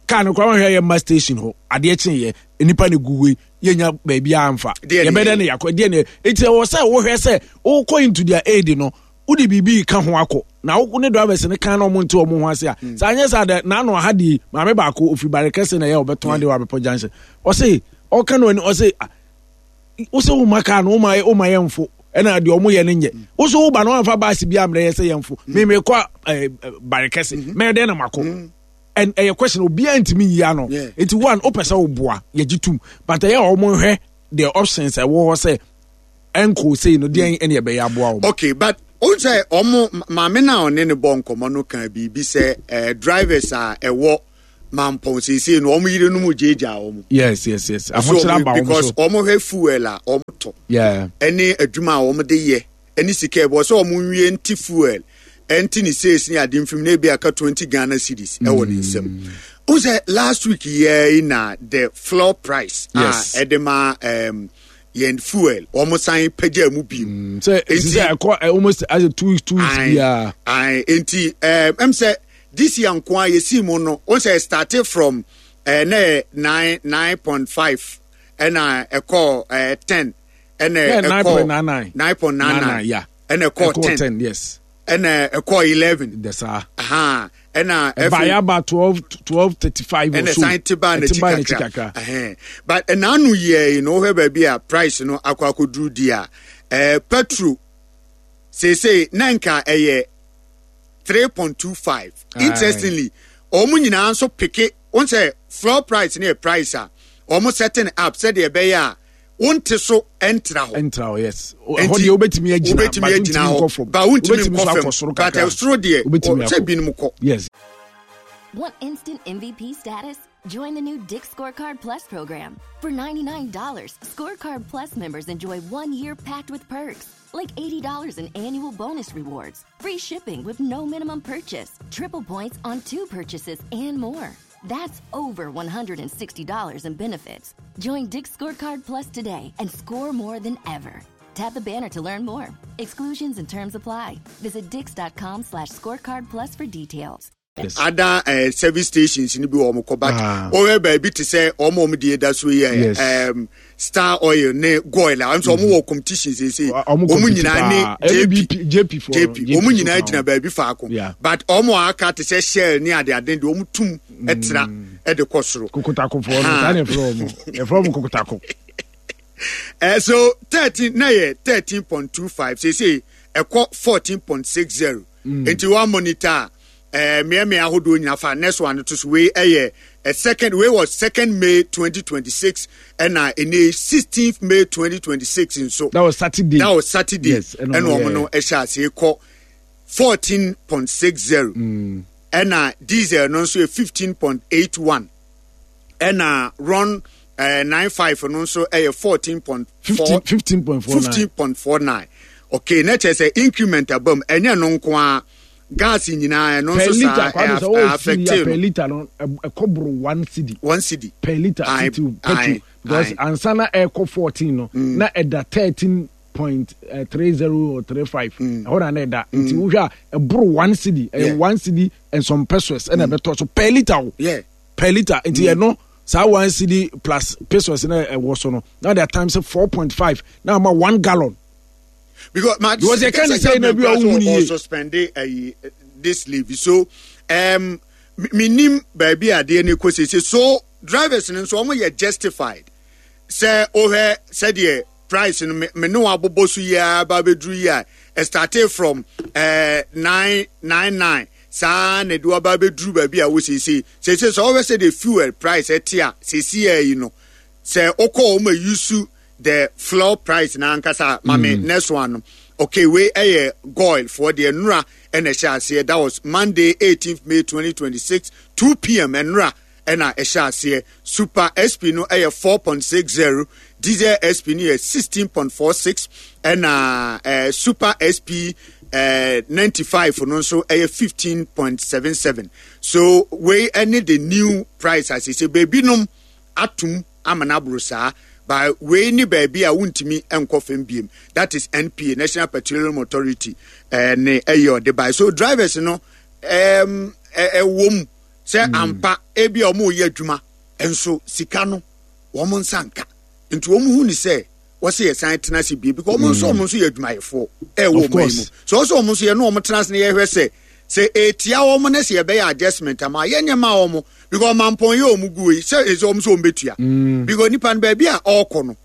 kaa no koraa wɔhwɛ yɛ mma station hɔ adeɛ kye yɛ nipa ne gu wei yɛnya baabi amfa yɛbɛdɛ ne yɛakɔ deɛ ne eti ɛwɔ sɛ wohwɛ sɛ wokɔ into their aid no wode biribi ka ho akɔ na wo ne drivers no kan na ɔmo nte ɔmo ho ase a mm. saa nyɛ saa dɛ n'ano aha die maame baako ofiri bare kɛse na ɛyɛ ɔbɛtɔn adeɛ wɔ abepɔ junction ɔse ɔka no ani ɔse ah, wosɛ wo ma kaa no woma woma yɛ mfo ɛna deɛ ɔmo yɛ no nyɛ mm. wosɛ wo ba no wamfa baasi bi amrɛ yɛ sɛ yɛ mfo mm. meme kɔ eh, eh, bare kɛse mm-hmm. mɛyɛ dɛn na makɔ and ɛyɛ question obiara ntumi nyi ano nti one wopɛ sɛ woboa yɛgye tum but ɛyɛ a ɔmo nhwɛ the options ɛwɔ hɔ sɛ ɛnkɔɔ sei no deɛn ɛne ɛbɛyɛ aboa wɔn. Okay but o sɛ ɔmo maame na ɔne ne bɔ nkɔmɔ no kan biribi sɛ ɛɛ drivers a ɛwɔ mampɔn seesei no ɔmo yere no mu gyeegyaa ɔmo. Yes yes yes ahokyere aba ɔmo so. Because ɔmo hwɛ fuel a ɔmo tɔ. Yeah. Ɛne adwuma a ɔmo de yɛ ɛne sika ɛbɔ sɛ ɔmo nwie nti fuel ɛnti ne sales ne ade mfim na ebi aka 20 Ghana cedis ɛwɔ ne nsam. Mm. O sɛ last week yɛ na the floor price a ɛde ma yɛn fuel wɔn san pagya mu bio. Mm, sɛ eti sɛ ɛkɔ eh, almost as a 2 weeks 2 weeks biara. Ayi nti ɛɛ ɛm sɛ this year nko a yɛsi mu no o sɛ started from ɛɛ na yɛ 9 9.5 ɛna ɛkɔ 10 ɛna ɛkɔ 9.99 ɛna ɛkɔ 10 yes ɛna ɛkɔ 11. Dɛsaa. Ɛna ɛfei ɛbaeɛ aba 12 12:35 ɛna san te baa n'akyi kakra ɛhɛn but ɛna ano yɛ yi na wohwɛ baabi a price no akɔ akɔduru di a petrol seesei na nka ɛyɛ 3.25 interestingly wɔn nyinaa nso peke wɔn sɛ floor price ne yɛ price a wɔn setting up sɛdeɛ ɛbɛyɛ a wonte so ntra hɔ. Ntra hɔ yes. Ɛhɔ deɛ wobɛtumi agyina wobɛtumi agyina hɔ ba wontumi nkɔ fam but ɛsoro deɛ sɛ binom kɔ. Yes. Want instant MVP status? Join the new Dick's Scorecard Plus program. For $99, Scorecard Plus members enjoy 1 year packed with perks, like $80 in annual bonus rewards, free shipping with no minimum purchase, triple points on two purchases, and more. That's over $160 in benefits. Join Dick's Scorecard Plus today and score more than ever. Tap the banner to learn more. Exclusions and terms apply. Visit dicks.com/scorecard plus for details. Ada service stations ni bi wɔ wɔn kɔ but wɔyɛ baabi te sɛ wɔn a wɔn deɛ da so yɛ Star Oil ne Goil a wɔn nso wɔn wɔ competition seesei wɔn nyinaa ne JP JP JP wɔn nyinaa gyina baabi faako but wɔn a aka te sɛ Shell ne ade ade deɛ wɔn tum ɛtra ɛde kɔ soro. Kokotakofoɔ no saa na ɛfrɛ wɔn, ɛfrɛ wɔn kokotako. So 13 na yɛ 13.25 seesei ɛkɔ 14.60 nti wɔn monitor mmeammea ahodoɔ nyinaa fa next one to so. Wei ɛyɛ second, wei was 2nd May 2026, ɛna ɛne 16th May 2026 nso. That was Saturday. That was Saturday. Yes, ɛna wɔn no ɛhyɛ aseɛ kɔ 14.60, ɛna diesel no nso yɛ 15.81, ɛna RON 95 no nso ɛyɛ 14.4 15.49. 15.49. Okay, na kyerɛ sɛ increment abam. Ɛnyɛ no nko a, gas nyinaa ɛno per nso litre saa Kwame sɛ ɛ wɔwɔ affect fili a per no. Litre no ɛkɔ boro 1 cedi. 1 cedi. Per litre titiw petrol because ansa na ɛkɔ 14 no na ɛda 13.30 or 35 ɛhɔ na ɛda, nti wohwɛ a ɛboro 1 cedi, ɛyɛ 1 cedi and some pesewas ɛna ɛbɛtɔ so per litre o, per litre. Nti ɛno saa 1 cedi plus pesewas na ɛwɔ so no na de times 4.5 na ama 1 gallon. Because my Because yɛka ne sɛ na bi a wohu ne yie. Suspend this levy, so minim baabi adeɛ ne kɔ sese so drivers no nso wɔn yɛ justified sɛ wohwɛ sɛdeɛ price no me ne wɔn abobɔ so yi ara ba abɛduru yi a ɛ started from 999 saa na ɛde waba abɛduru baabi a wɔ sese sɛ wohwɛ sɛdeɛ fuel price ɛte a sese yɛ yi no sɛ wokɔ wɔn a use the floor price na ankasa mame next one no. Okay, wei ɛyɛ Goil foɔ deɛ, nnura ɛna ɛhyɛ aseɛ. That was Monday, 18th May 2026, 2 p.m. Nnura ɛna ɛhyɛ aseɛ. Super SP no ɛyɛ 4.60, Diesel SP no yɛ 16.46, ɛna Super SP. 95 no nso ɛyɛ 15.77. So wei ɛne the new price asese baabi nom atum ama no aboro saa ba wei ne baabi a wontumi nkɔ fam biem. That is NPA, National Petroleum Authority, ne ɛyɛ ɔde bae. So drivers no ɛwɔ mu sɛ ampa ebi a wɔn reyɛ adwuma nso sika no wɔn nsa nka nti wɔn hu ne sɛ wɔsɛ yɛ san tena ase bie because wɔn nso wɔn nso yɛ adwumayɛfoɔ ɛwɔ wɔn yi mu so wɔsɛ wɔn nso yɛ ne wɔn tena ase na yɛhwɛ sɛ sɛ etia wɔn na sɛ yɛbɛyɛ adjustment ama yɛnyɛ ma wɔn because ɔmampɔn yɛ wɔn gu yi sɛ ɛsɛ wɔn nso wɔn bɛtua because nipa no baabi a ɔrekɔ no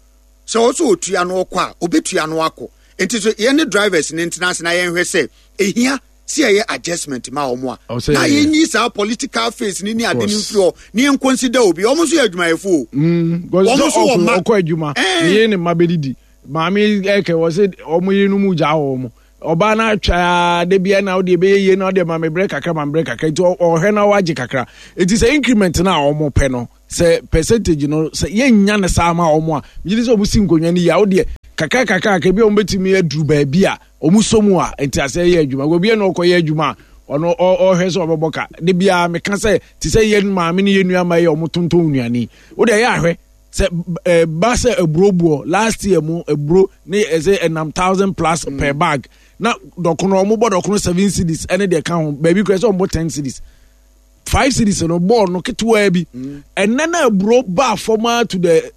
sɛ ɔsɛ otua no ɔkɔ a obetua no akɔ nti so yɛn ne drivers ne ntena ase na yɛnhwɛ sɛ ehia sɛ yɛyɛ adjustment ma wɔn a na yɛnyi saa political face ne ne ade no mfiri hɔ ne yɛn consider obi wɔn nso yɛ adwumayɛfo o wɔn nso wɔ mma ɔkɔ adwuma ne yɛ ne mma bɛdidi maame ɛkɛ wɔ sɛ wɔn yere no mu gya wɔn ɔbaa no atwa de bia na ɔde ɛbɛyɛ yie na ɔde ma me brɛ kakra ma me brɛ kakra nti ɔhwɛ na wagye kakra nti sɛ increment no a wɔn pɛ no sɛ percentage no sɛ yɛnnya no saa ma wɔn a megye di sɛ wɔn si nkonnwa no yie a wodeɛ kakra kakra kakra bi a wɔn bɛtumi aduru baabi a wɔn sɔ mu a nti asɛ yɛ adwuma obi na ɔkɔyɛ adwuma a ɔno ɔhwɛ sɛ ɔbɛbɔ ka de biara meka sɛ te sɛ yɛn maame ne yɛn nua ma yɛ wɔn tontɔn nnuane wodeɛ yɛ ahwɛ sɛ ɛba sɛ aburo boɔ last year mu aburo ne ɛsɛ ɛnam thousand plus per bag na dɔkono wɔn bɔ dɔkono seven cedis ɛne deɛ ka ho baabi kura sɛ wɔn bɔ ten cedis five cedis no bɔɔl no ketewaa bi ɛnɛ na aburo baa fam ara to the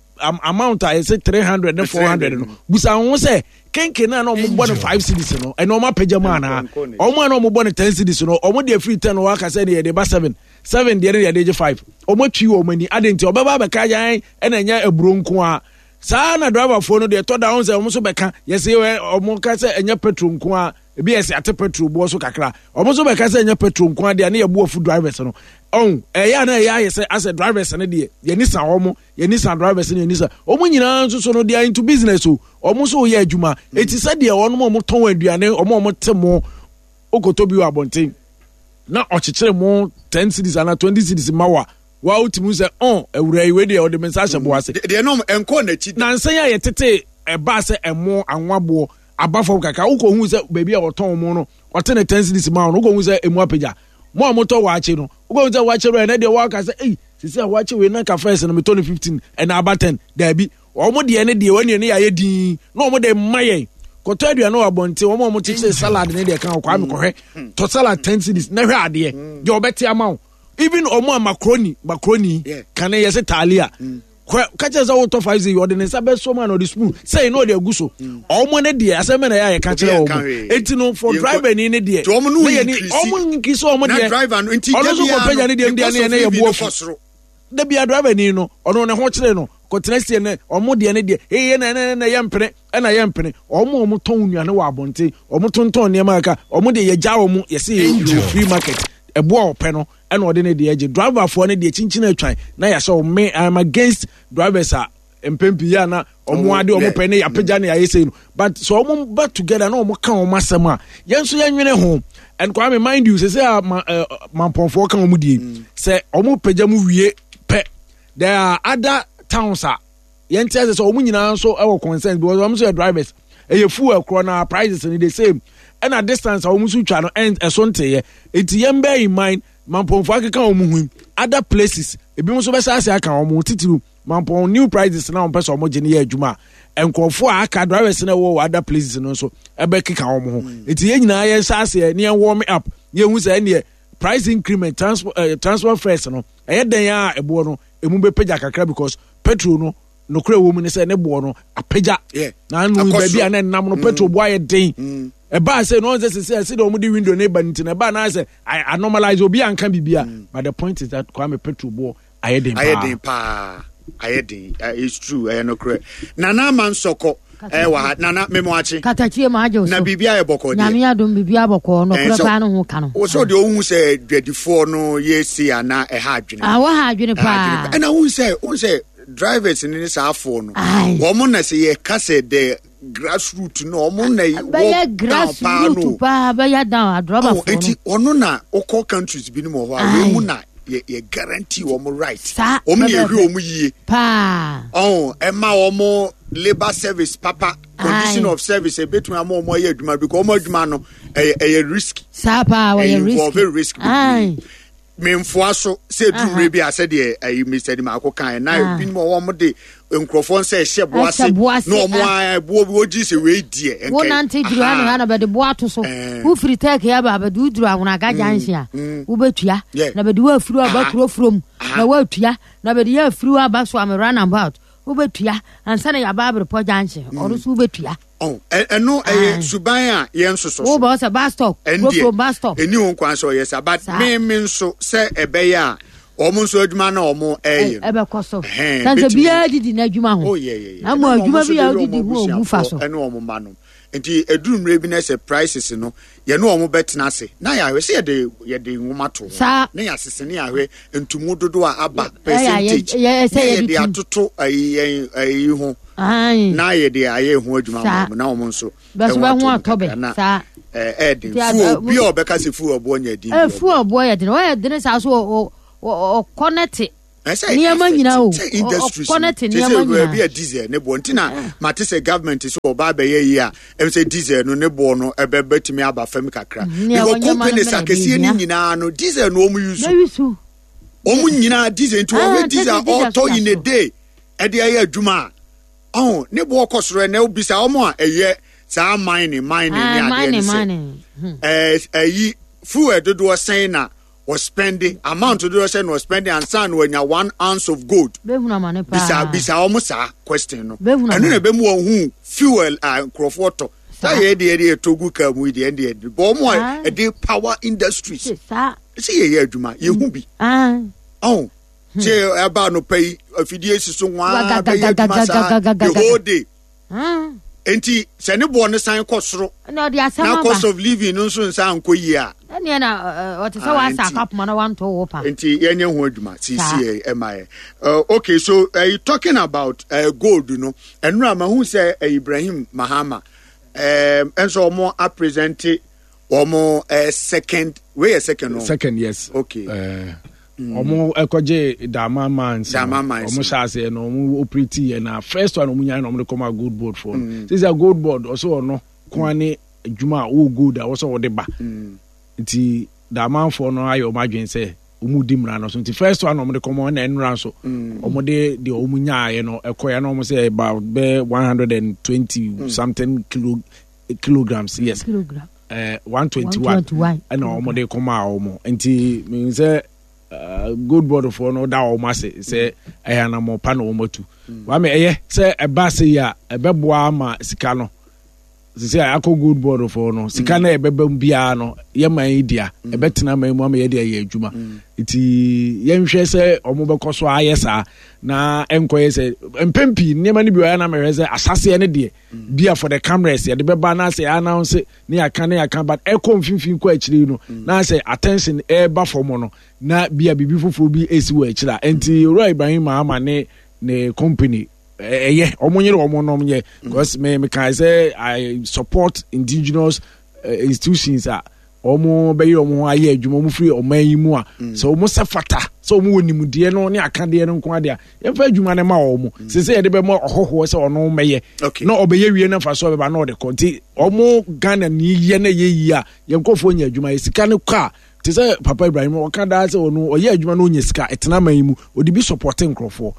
amount a yɛsɛ 300 ne 400 no busa ho sɛ kenke no a na ɔmo bɔ no five cedis no ɛna ɔmo apagya mu anaa ɔmo a na ɔmo bɔ no ten cedis no ɔmo deɛ firi ten wɔ aka sɛ ne yɛde ba seven seven deɛ ne yɛde gye five ɔmo atwi wɔn ani ade nti ɔbɛba abɛka yan ɛna ɛnyɛ aburo nko a saa na driverfoɔ no deɛ ɛtɔ da ho sɛ ɔmo nso bɛka yɛsɛ ɔmo ka sɛ ɛnyɛ petrol nko a ebi yɛ sɛ ate petrol boɔ so kakra ɔmo nso bɛka sɛ ɛnyɛ petrol nko adeɛ ne yɛbu afu drivers no ɔn ɛyɛ a na ɛyɛ ayɛ sɛ asɛ drivers no deɛ yɛni sa wɔn yɛni sa drivers no yɛni sa wɔn nyinaa nso so no they are into business o wɔn nso yɛ adwuma eti sɛ deɛ wɔn a wɔn tɔn aduane wɔn a wɔn te mo okoto bi wɔ abɔnten na ɔkyekyere mo ten cedis ana twenty cedis ma wa wa wotumi sɛ ɔn awura yi wei deɛ ɔde me nsa ahyɛ bo ase. deɛ nom ɛnkɔ n'akyi. Nansa yi a yɛtete ɛbaa sɛ ɛmo anwa boɔ aba fam kakra wokɔhu sɛ baabi a wɔtɔn mo no ɔte ne ten cedis ma wo no wokɔhu sɛ emu apagya mo a motɔ waakye no wokɔhu sɛ waakye wura ɛnɛ deɛ wɔaka sɛ ei sisi a waakye wei na nka first no metɔ no 15 ɛna aba 10 daabi wɔn deɛ ne deɛ wɔn ne yɛayɛ din na wɔn de mma yɛn kɔtɔ aduane wɔ abɔnten wɔn a wɔn kyekyere salad ne deɛ kan kɔ ame kɔhwɛ tɔ salad 10 cedis na hwɛ adeɛ deɛ ɔbɛte ama wo even wɔn a macaroni macaroni kane yɛ sɛ talia mm. ka kyerɛ sɛ wotɔ five zero ɔde ne nsa bɛsɔ mu a na ɔde spoon sɛyi na ɔde agu so mm. ɔmo ne deɛ asɛm na yɛ a yɛka kyerɛ ɔmo eti no for driver ni ne deɛ ne yɛ ni ɔmo nkiri sɛ ɔmo deɛ ɔno nso kɔ pɛgya ne deɛ deɛ ne yɛ ne yɛ bu afu dabi a driver ni no ɔno ne ho kyerɛ no kɔtena sie ne ɔmo deɛ ne deɛ eye na ɛna na yɛ mpene ɛna yɛ mpene ɔmo ɔmo tɔn nnuane wɔ abɔnten ɔmo tontɔn nneɛma kaka ɔmo deɛ yɛgya ɔmo yɛsɛ yɛ free market ɛboa ɔpɛ no ɛna ɔde ne deɛ gye driverfoɔ no deɛ kyinkyin atwan na yɛahyɛ wɔn me I'm against drivers a mpɛn pii yɛ ana wɔn ade wɔn pɛ ne yɛapagya ne yɛayɛ sei no but sɛ wɔn ba together na wɔn ka wɔn asɛm a yɛn nso yɛnwene ho and Kwame mind you sɛ sɛ a ma ɛɛ mampɔnfoɔ ka wɔn die sɛ wɔn pagya mu wie pɛ there are other towns a yɛn ti ase sɛ wɔn nyinaa nso wɔ concern because wɔn nso yɛ drivers ɛyɛ fuel korɔ na prices no the same ɛna distance a wɔn nso twa no ɛn ɛso nteyɛ eti yɛn bɛɛ in mind mampɔnfo akeka wɔn ho other places ebi nso bɛhyɛ ase aka wɔn ho titiriw mampɔn new prices na wɔn pɛ sɛ wɔn gye no yɛ adwuma a nkurɔfoɔ a aka drivers na ɛwɔ wɔ other places no nso ɛbɛkeka wɔn ho mm. eti yɛn nyinaa yɛn hyɛ aseɛ ne yɛn warm up yɛn hu sɛ ɛneɛ price increment transport uh, eh, transport fares no ɛyɛ dɛn a ɛboɔ no emu bɛpagya kakra because petrol no nokorɛ wɔ mu ne sɛ ne boɔ no apagya na ano baabi a na ɛnam no mm. petrol boɔ ayɛ den mm. ɛbaa sɛ no ɔn sɛ sɛ sɛ deɛ wɔde window ne ba no nti na ɛbaa na sɛ anormalize obi anka biribia mm. but the point is that Kwame petrol boɔ ayɛ den paa ayɛ den paa ayɛ den eh, it's true ɛyɛ nokorɛ nana ama nsɔkɔ ɛwɔ eh, ha nana memo akye katakyie ma agye so na biribi ayɛ bɔkɔɔ deɛ nyame adom biribi abɔkɔɔ nokorɛ eh, paa no ho ka no wo sɛ deɛ wohu sɛ dwadifoɔ no yɛ sei ana ɛha adwene ah, wɔha adwene paa ɛna wohu sɛ wohu sɛ drivers ne ne saa afoɔ no wɔn na sɛ yɛka sɛ the grassroot no wɔn na wɔ down paa no paa bɛyɛ down adrɔbafoɔ no nti ɔno na wokɔ countries binom wɔ hɔ a wei mu na yɛ yɛ guarantee wɔn right wɔn na yɛhwɛ wɔn yie paa ɔn ɛma wɔn. labour service papa condition of service ebetumi ama wɔn ayɛ adwuma because wɔn adwuma no ɛyɛ ɛyɛ risk. Saa paa wɔyɛ risk. Ɛyɛ risk bebree. Memfoa so sɛ edu mmerɛ bi a sɛdeɛ ɛyi Mr. Dimako kan na ah. ebinom a wɔn de nkurɔfoɔ nsa ɛhyɛ boa ase na wɔn a ɛboɔ bi wɔgye sɛ wei deɛ nkɛ. Wonante duru ha na ha na bɛde boa ato so. Wofiri tɛɛke aba bɛde woduru ahonaga mm, junction a mm. wobɛtua na bɛde woafiri aba kuro furom na woatua na bɛde yɛ afiri aba so ame runabout wobɛtua ansa na yɛaba aberepɔ junction mm. ɔno so wobɛtua. Ɛno ɛyɛ suban a yɛn nsoso so. Wobɛ sɛ bus stop. Ɛndeɛ ɛni ho kwan sɛ ɔyɛ sa but me me nso sɛ ɛbɛyɛ a wɔn nso adwuma na wɔn ɛyɛ no. Ɛbɛkɔ so. Sanse biara didi n'adwuma ho. Oh yeah yeah yeah. Na mo adwuma bi a odidi ho obu fa so. Ɛne wɔn mma no. Nti eduru mmerɛ bi na sɛ prices no yɛne wɔn bɛtena ase na yɛahwɛ sɛ yɛde yɛde nwoma to ho na yɛasese ne yɛahwɛ ntumu dodoɔ a aba percentage na yɛde atoto ayi yɛn ayi ho na yɛde ayɛ ho adwuma ma wɔn na wɔn nso ɛho ato kakra na ɛɛden fuel bi a ɔbɛka sɛ fuel ɔboɔ nyɛ den fuel ɔboɔ yɛ den ɔyɛ den saa so ɔkɔ ne te nneɛma nyinaa o sɛ industries no sɛ sɛ baabi a diesel ne boɔ nti na ah. mate sɛ government sɛ ɔba abɛyɛ yi a ɛm sɛ diesel no ne boɔ no ɛbɛ bɛtumi aba fam kakra mm, because companies akɛseɛ no nyinaa no diesel no wɔn use wɔn nyinaa diesel nti wɔhwɛ ah, diesel a ɔtɔ in a day ɛde ayɛ adwuma a ɔho ne boɔ kɔ soro ɛnɛ obisa wɔn a ɛyɛ saa mining mining ne ah, adeɛ ne sɛ hmm. ɛɛ ɛyi fuel dodoɔ sɛn na. Ɔspɛnde amount dodoɔ sɛ na ɔspɛnde ansa na wanya one ounce of gold. Bɛhunu amane paa. Bisa bisa wɔn saa question no. Ɛno na ɛbɛmu wɔn hu fuel a nkurɔfoɔ tɔ. Saa yɛ deɛ deɛ ɛtɔ gu kaa mu yi deɛ ɛdeɛ ɛde bɔ wɔn a ɛde power industries. Saa. Ɛsɛ yɛ yɛ adwuma yɛ hu bi. Ɔn sɛ ɛba anɔpa yi afidie si so nwaa bɛyɛ adwuma saa the whole day. Enti sɛ ne boɔ no san kɔ soro na cost of living no nso nsan nkɔ yie a. Ɛnneɛ na ɔte sɛ wasa akapoma na wanto wo pa. Nti yɛnyɛ ho adwuma sisi ɛma yɛ. Okay, so uh, talking about uh, gold no, ɛnura mahu sɛ uh, Ibrahim Mahama ɛnso wɔn apresente wɔn uh, second wei yɛ second no. Second yes. Okay. Uh, Wɔn ɛkɔgye Dama mines no wɔn hyɛ aseɛ no wɔn operate yɛ na first one wɔn nyae na wɔn de kɔma gold board foɔ no mm. sisi a gold board ɔsɛ ɔno kwan ne adwuma a ɔwɔ gold a wɔsɛ ɔde ba mm. nti Damanfoɔ no ayɛ wɔn adwene sɛ wɔn di mmara no so nti first one wɔn de kɔma ɛna nnura nso mm. wɔn de deɛ wɔn nyaeɛ no ɛkɔɛ na wɔn sɛ about bɛ 120 something kilo kilograms yes. Kilogram. Eh, 121 ɛna wɔn de kɔma wɔn nti mehu sɛ eh, gold board foɔ no da wɔn ase sɛ ɛyɛ anamɔ pa na wɔn atu mm. wame ɛyɛ sɛ ɛba ase yi a ɛbɛboa ama sika no sisi a akɔ gold board foɔ no sika mm. no ɛbɛba mu biara no yɛ man yi dea mm. ɛbɛtena man mu ama yɛde ayɛ adwuma nti yɛnhwɛ sɛ wɔn bɛkɔ so ayɛ saa na ɛnkɔyɛ sɛ mpɛn pii nneɛma no bi wɔ yɛ na mɛhwɛ sɛ asaseɛ no deɛ bia for the cameras yɛde bɛba na sɛ announce ne yɛaka ne yɛaka but ɛkɔ mfimfini kɔ akyire yi no mm. na sɛ attention ɛreba fam no na bia biribi foforɔ bi ɛsi wɔ akyire a nti owura Ibrahim Mahama ne ne company ɛyɛ wɔn nyere wɔn nom yɛ because me me kan sɛ I support indigenous eh, institutions a wɔn bɛyɛ wɔn ho ayɛ adwuma wɔn firi ɔman yi mu a mm. sɛ wɔn sɛ fata sɛ wɔn wɔ nimdeɛ no ne akadeɛ no nko adeɛ a yɛmfa adwuma no ma wɔn mm. sɛ sɛ yɛde bɛma ɔhɔhoɔ sɛ ɔno mɛyɛ na ɔbɛyɛ wie no mfa so ɔbɛba na ɔde kɔ nti wɔn Ghana ni yɛ na yɛ yie a yɛn nkurɔfoɔ nya adwuma yɛ sika no kɔ a te sɛ Papa Ibrahim ɔka daa sɛ ɔno ɔyɛ adwuma na ɔnya sika ɛtena man yi mu ɔde bi sɔpɔte nkurɔfoɔ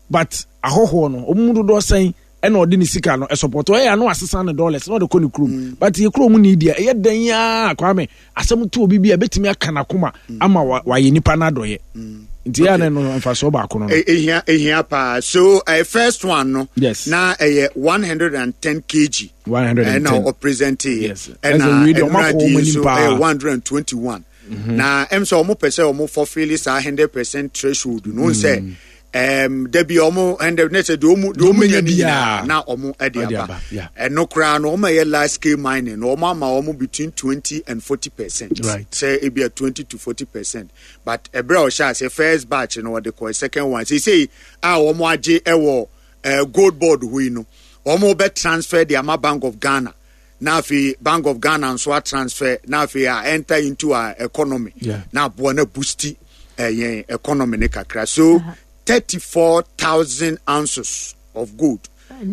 but ahɔhoɔ no wɔn mu dodoɔ sɛn ɛna ɔde ne sika no ɛsɔpɔtɔ ɛyɛ ano asesa ne dollars na ɔde kɔ ne kurom mm. but yɛ kurom ni deɛ ɛyɛ dɛn yaa kwame asɛm to obi bi a ɛbɛtumi aka n'akoma mm. ama wayɛ nipa n'adɔyɛ mm. nti yɛ anɛ no mfasoɔ baako no. ehia ehia paa so uh, first one no. Yes. Na ɛyɛ 110 kg. 110 ɛna ɔpresente. Yes. Ɛna ɛnura di nso ɛyɛ 121. Mm-hmm. Na ɛm sɛ ɔmo pɛ sɛ ɔmo fulfill saa 100% threshold no n sɛ. Mm. Um, dabi ɔmo ɛnde ne sɛ deɛ ɔmo deɛ ɔmo nya ne nyinaa na ɔmo ɛde aba ɛno koraa no ɔmo ɛyɛ large scale mining no ɔmo ama ɔmo between 20 and 40%, right. Sɛ ebi a 20 to 40%, but ɛbrɛ a ɔhyɛ ase first batch no ɔde kɔ second one seesei a ɔmo agye ɛwɔ gold board hɔ yi no ɔmo bɛ transfer de ama Bank of Ghana na afei Bank of Ghana nso a transfer na afei a enter into our economy na aboa na boost yɛn economy ne kakra. So 34,000 ounces of gold.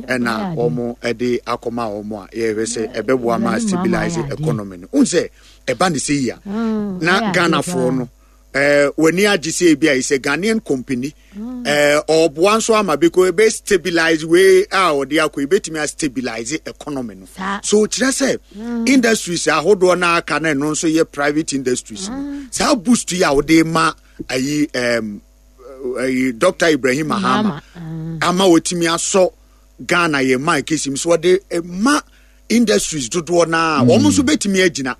Ɛna wɔn ɛde akɔma wɔn a yɛhwɛ sɛ ɛbɛboa ma stabilize economy no. N sɛ ɛba ne sɛ yi a na Ghanafoɔ no ɛɛ w'ani agye sɛ ebi a sɛ Ghanaian company ɛɛ ɔboa nso ama because ebe stabilize wei a ɔde akɔ ebetumi a stabilize economy no. So kyerɛ sɛ industries ahodoɔ na aka na ɛno nso yɛ private industries no. Saa boost yi a wɔde ma ayi ɛɛm. Ayi Dr. Ibrahim Mahama ama wɔtumi asɔ Ghana yɛ man kesi mu so wɔde ma industries dodoɔ naa wɔn nso bɛtumi agyina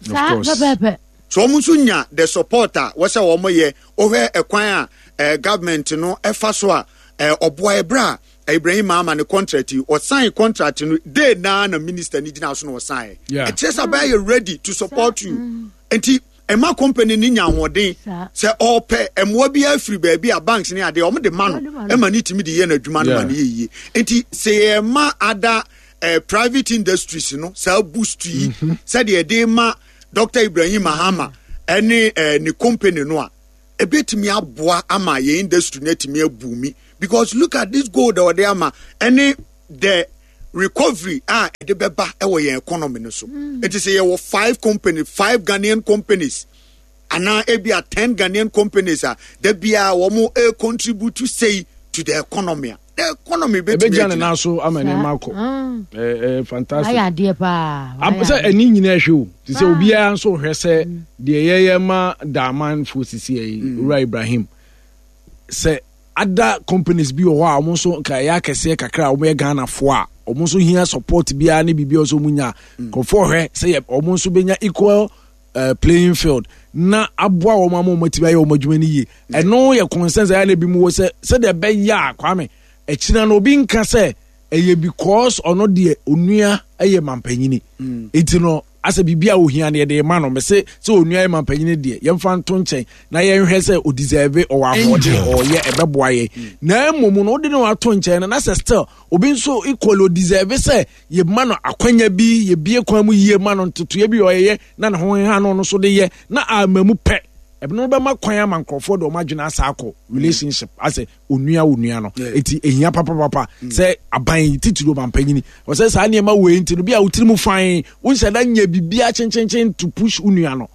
so wɔn nso nya the support a wɔsɛ wɔn yɛ wɔhwɛ ɛkwan a eh, government no ɛfa so a eh, ɔboa ɛbrɛ a Ibrahim Mahama ne contract yi ɔsan contract no day naa na minister ni gyina so na ɔsan yɛ ɛkyerɛ sɛ abɛyɛ yɛ ready to support you nti. Ɛma company no nya ahoɔden sɛ ɔpɛ mmoa bi afiri baabi a banks ne adeɛ wɔn de ma no ɛma ne tumi de yɛ n'adwuma no ma no yɛ yie. Nti sɛ yɛma ada eh, private industries no saa boost yi mhm. sɛdeɛ ɛde ma Dr. Ibrahim Mahama ɛne eh, ne company no a ebetumi aboa ama yɛn industry no atumi abumi because look at this gold a ɔde ama ɛne the recovery a ɛde bɛba wɔ yɛn economy no so mm. nti sɛ yɛwɔ five company five Ghanaian companies anaa ebi a ten Ghanaian companies a da biara wɔn e contribute say to the economy a the economy bɛtumi agyina. ne nan so ama nneɛma akɔ mm. ɛɛ fantastic. Ayɛ adeɛ paa. Sɛ ɛni nyinaa hwɛ o ti sɛ obiara nso hwɛ sɛ mm. deɛ yɛyɛ ma daamanfo sisi yɛ yi mm. Owura Ibrahim sɛ. Other companies bi wɔ hɔ a wɔn nso nka ɛyɛ akɛseɛ kakra a wɔyɛ Ghanafoɔ a wɔn nso hia support biara ne biribi a wɔn nso nya mm. nkurɔfoɔ hwɛ sɛ yɛ wɔn nso bɛnya equal uh, playing field na aboa wɔn ama wɔn atumi ayɛ wɔn adwuma no yie ɛno yɛ concern sɛ ɛyɛ na ebi mu wɔ sɛ sɛdeɛ ɛbɛyɛ a Kwame akyina no obi nka sɛ ɛyɛ because ɔno deɛ onua yɛ mampanyini mm. eti no asɛ biribi a ohia no yɛde ma no mese sɛ onua yɛ mampanyini deɛ yɛmfa nto nkyɛn na yɛnhwɛ sɛ ɔdeserve ɔwɔ ahoɔden ɔyɛ ɛbɛboa yɛn mm. na mmom no wode no ato nkyɛn no na sɛ still obi nso equally ɔdeserve sɛ yɛma no akwanya bi yɛbie kwan mu yie ma no ntotoeɛ bi ɔyɛyɛ na ne ho ha no no so de yɛ na ama mu pɛ ɛno bɛma kwan ama nkurɔfoɔ de wɔn adwene asa akɔ relationship asɛ onua onua no eti ehia papapapa mm. sɛ aban titiri ɔmampanyini ɔsɛ saa nneɛma wei nti no bi a wotiri mu fan wonhyɛ da nyɛ biribiara kyenkyenkyen to push onua no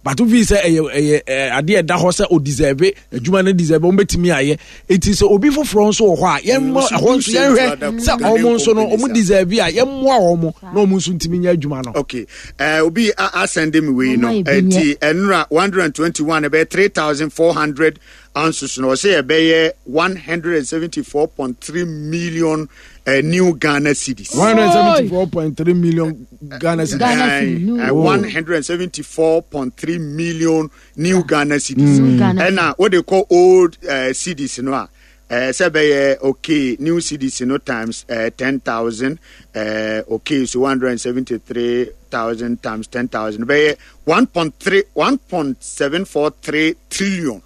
but wofi sɛ ɛyɛ ɛyɛ adeɛ ɛda hɔ sɛ o deserve adwuma no deserve wɔn bɛtumi ayɛ eti sɛ obi foforɔ nso wɔ hɔ a yɛn mmɔ ɛhɔ nso yɛnhwɛ sɛ wɔn nso no wɔn deserve a yɛmmoa wɔn na wɔn nso ntumi nyɛ adwuma no. okay ɛɛ obi asɛnde mi wei no ɛti ɛnura 121 ɛbɛyɛ 3400 Anso so no, ɔsɛ ɛbɛyɛ 174.3 million uh, new Ghana cedis. 174.3 million Ghana cedis. Ghana cedis. Uh, 174.3 million new Ghana cedis. Mm. And what they call old uh, cedis, no? Sɛ bɛyɛ okay new cedis no times 10,000 okay so 173,000 times 10,000 bɛyɛ 1.3 1.743 trillion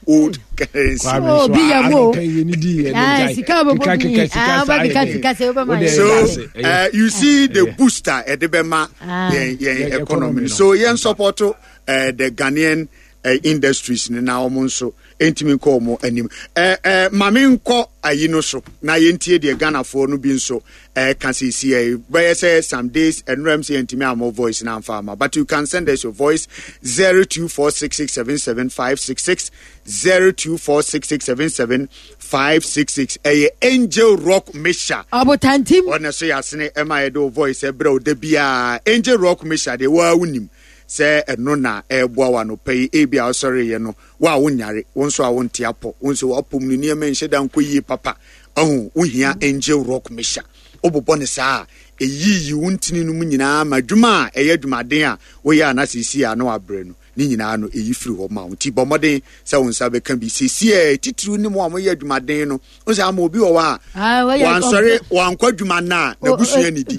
old currency. Oh, bi yɛ mo. Sika bɛ bɔ bi. Ah, ba keka sika sɛ o bɛ ma. So you see the booster ɛde bɛ ma yɛn yɛn economy. So yɛn support the Ghanaian industries ni na wɔn nso ntumi nkɔ wɔn anim. Ɛɛ ɛɛ maame nkɔ ayi no so na yɛntie deɛ Ghanafoɔ no bi nso ɛka sisi ɛ bɛyɛ sɛ some days ɛnura m sɛ yɛntumi amɔ voice na amfa ama but you can send us your voice 0246677566 0246677566 ɛyɛ Angel Rock Mixture ɔbotantim ɔna so yɛ asene ɛma yɛde wo voice ɛbrɛ wo da biara Angel Rock Mixture deɛ waa wonim sɛ ɛno na ɛreboa wo anɔpa yi ebi a wosɔreeɛ no wo a wonyare wo nso a wonte apɔ wo nso wapom no nneɛma nhyɛ da nkɔ yie papa ɔho wohia Angel Rock Mixture wobobɔ no saa a ɛyiyi wo ntini no mu nyinaa ma adwuma a ɛyɛ adwumaden a woyɛ a na seesei a na wabrɛ no ne nyinaa no ɛyi firi hɔ ma wo nti bɔ mmɔden sɛ wo nsa bɛka bi seesei a titiriw ne mu a moyɛ adwumaden no wo sɛ ama obi wɔ hɔ a wansɔre wankɔ adwuma no a n'abusua nidi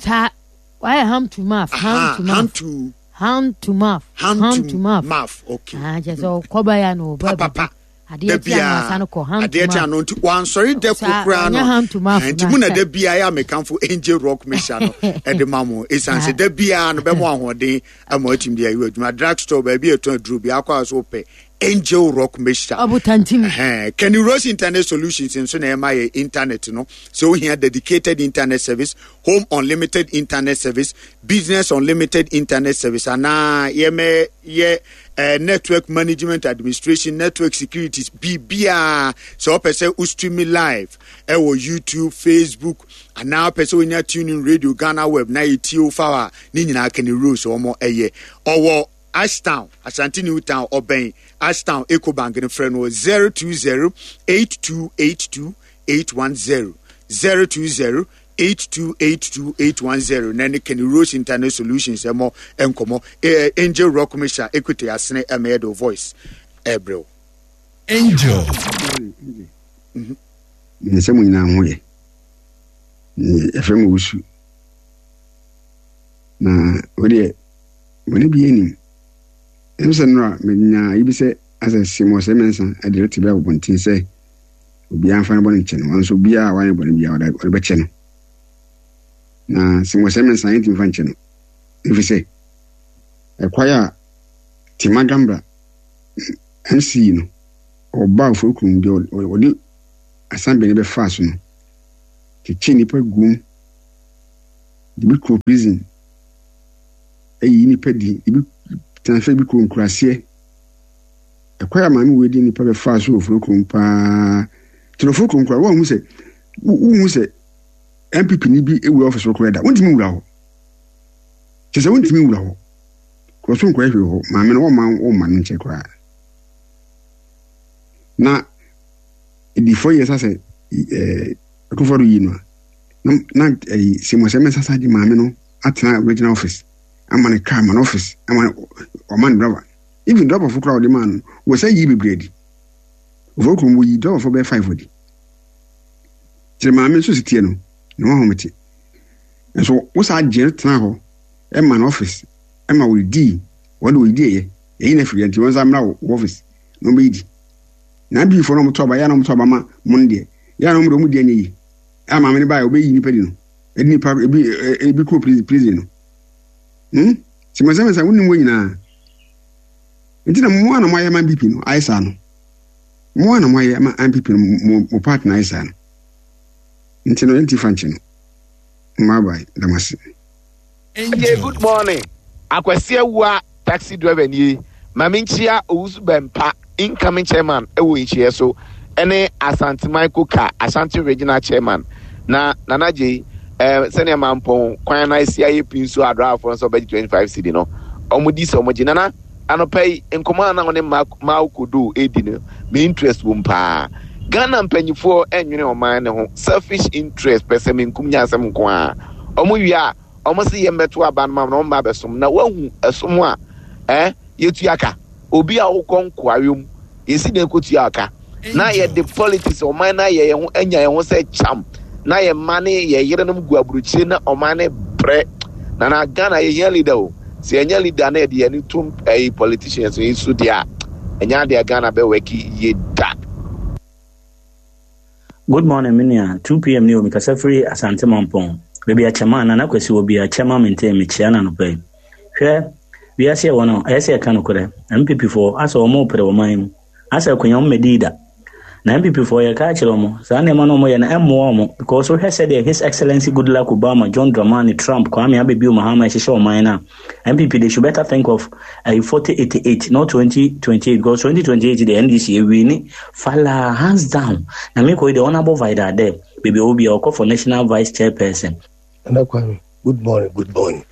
Wayɛ ham to mouth. Ham to mouth. Ham to. Ham to mouth. Ham to mouth. Okay. Ah, kyerɛ sɛ ɔkɔba ya na ɔba bi. Adeɛ ti ano asa no kɔ ham to mouth. Adeɛ ti ano nti wansɔre dɛ kokura no. Ham to mouth. Nti mu na da biara yɛ amekanfo Angel Rock Mixture no ɛde ma mo. Esan sɛ da biara no bɛmo ahoɔden ama atumi de ayɛ adwuma. Drug store baabi a ɛtɔn aduro bi akɔ a so pɛ. Angel Rock Mixture. Ɔbotantim. Ɛhɛn. Kenny Rose Internet Solutions nso na ɛma yɛ internet no. Sɛ wohia dedicated internet service, home unlimited internet service, business unlimited internet service, anaa yɛmɛ yɛ eh, network management administration, network securities, biribiara. Sɛ wopɛ sɛ wo stream live ɛwɔ YouTube, Facebook, anaa wopɛ sɛ wonya tuning radio Ghana web na yɛtie wo fa hɔ a, ne nyinaa Kenny Rose wɔn ɛyɛ. Ɔwɔ Ashtown, Ashanti New Town, ɔbɛn Ashtown Ecobank no frɛ no wɔ 020 8282 810, 020 8282 810 na ne Kenny Rose Internet Solutions ɛmɔ nkɔmɔ. Eh, Angel Rock Misha Equity Asene ɛmɛ yɛ voice ɛbrɛw. Angel. Menim sɛ mo nyinaa ho yɛ. Yɛfrɛ me Owusu. Na wo deɛ bɔne biara nnim. Ɛm sɛ nnora menya yi bi sɛ asɛ Simon sɛ mɛnsa de rete bi abɔnten sɛ obiara mfa ne bɔne nkyɛ no. Nanso obiara a wayɛ bɔne biara ɔde bɛkyɛ no. Na Simon sɛ mɛnsa yɛntumi mfa nkyɛ no. Ɛfiri sɛ ɛkwae a Tema Gambra MC no ɔbaa Oforikrom deɛ ɔde Asanbene bɛfaa so no kyekyee nnipa guom de bi kɔɔ prison ayi nnipa di, ebi transfer bi kɔ nkuraseɛ. Ɛkwan a maame wei de nnipa bɛfaa so wɔ furo kurom paa. Tena furo kurom koraa wɔn sɛ wohu sɛ NPP ni bi ewura ɔfis hɔ koraa da. Wontumi nwura hɔ. Kyerɛ sɛ wontumi nwura hɔ. Kɔ so nkɔyɛ hwee hɔ. Maame no wɔmma wɔmma no nkyɛ koraa. Na ɛdi 4 years asɛ ɛɛ Akufo-Addo yi no a na na ɛyi sɛ mɛsasa de maame no atena regional office ama no car ama no office ama ɔma no driver even driver fo koraa ɔde maa no wɔ sɛ yi bebree adi ofo kurom wɔyi driver fo bɛyɛ 5 adi kyerɛ maame nso si tie no na wɔn ahomete nso wosa agye no tena hɔ ɛma no office ɛma wɔdidi wɔde wɔdidi ɛyɛ ɛyi na afiri nti wɔn nsa mmra wɔ office na wɔn bɛyi di na abiifo na wɔn to aba yɛ na wɔn to aba ma mo no deɛ yɛ na wɔn de wɔn di ɛnyɛ yi a maame no baeɛ ɔbɛyi nipa di no ɛde nipa ebi ebi kɔ prison prison no hmm sɛmɛsɛmɛsɛ wonim wɔ nyinaa nti na mo a na moayɛ ma npp no ayɛ saa no mo a na moayɛ ma npp no mo mo part na ayɛ saa no nti no ɛnti fa nkye no mmabae damase. Okay, good morning. Akwasi Awua taxi driver nie. Ma menkyia Owusu Bɛmpa incoming chairman wɔ nhyiɛ so ɛne Asanteman Koka Ashanti Regional chairman na Nana Gyei eh, sɛnea mampɔn kwan na asi ayɛ pii nso adraafoɔ nso ɔbɛgye 25 cedi no ɔmo di sɛ ɔmo gye. Nana anɔpa yi nkɔmɔ a na ɔne Mao Kodo edi no me interest wom paa. Ghana mpanyifoɔ ɛnwene ɔman ne ho, selfish interest, pɛsɛmenkum nya asɛm nko ara. Ɔmo wie a ɔmo se yɛn bɛto aba no ma na ɔmo ba abɛsom na wahu ɛsom a eh yɛtua ka. Obi a wokɔ nkoayɔ mu yɛsi dɛn kɔtua ka na yɛde politics ɔman no ayɛ yɛn ho anya yɛn ho sɛ kyam na yɛn mma ne yɛn yerenom gu aburokyire na ɔman no brɛ. Na na Ghana yɛhia leader o. Sɛ yɛnya leader na yɛde yɛn ani tom ɛyi politicians yi so deɛ a ɛnyɛ adeɛ a Ghana bɛ wɛki yie da. Good morning me nua, 2pm ni o, mekasa firi Asante Mampong, baabi a Kyɛmaa, Nana Kwasi wɔ bia, Kyɛma Maintain, mekyea no anɔpa yi. Hwɛ, wiase ɛwɔ no, ɛyɛ sɛ yɛka nokorɛ, NPP foɔ, asɛ wɔn repere ɔman mu, asɛ akonya wɔn mmɛdii da. Na NPP foɔ yɛka akyerɛ wɔn, saa nneɛma no wɔyɛ no ɛmmoa wɔn, because wohwɛ sɛdeɛ His Excellency Goodluck Obama, John Dramani, Trump, Kwame Abebio Mahama ɛhyehyɛ ɔman no a, NPP they should better think of uh, 4088 not 2028 because 2028 the NDC ewini fala hands down. Na me kɔ the honorable Vida there baby obi ɔkɔ for national vice chairperson. Nana Kwame, good morning, good morning.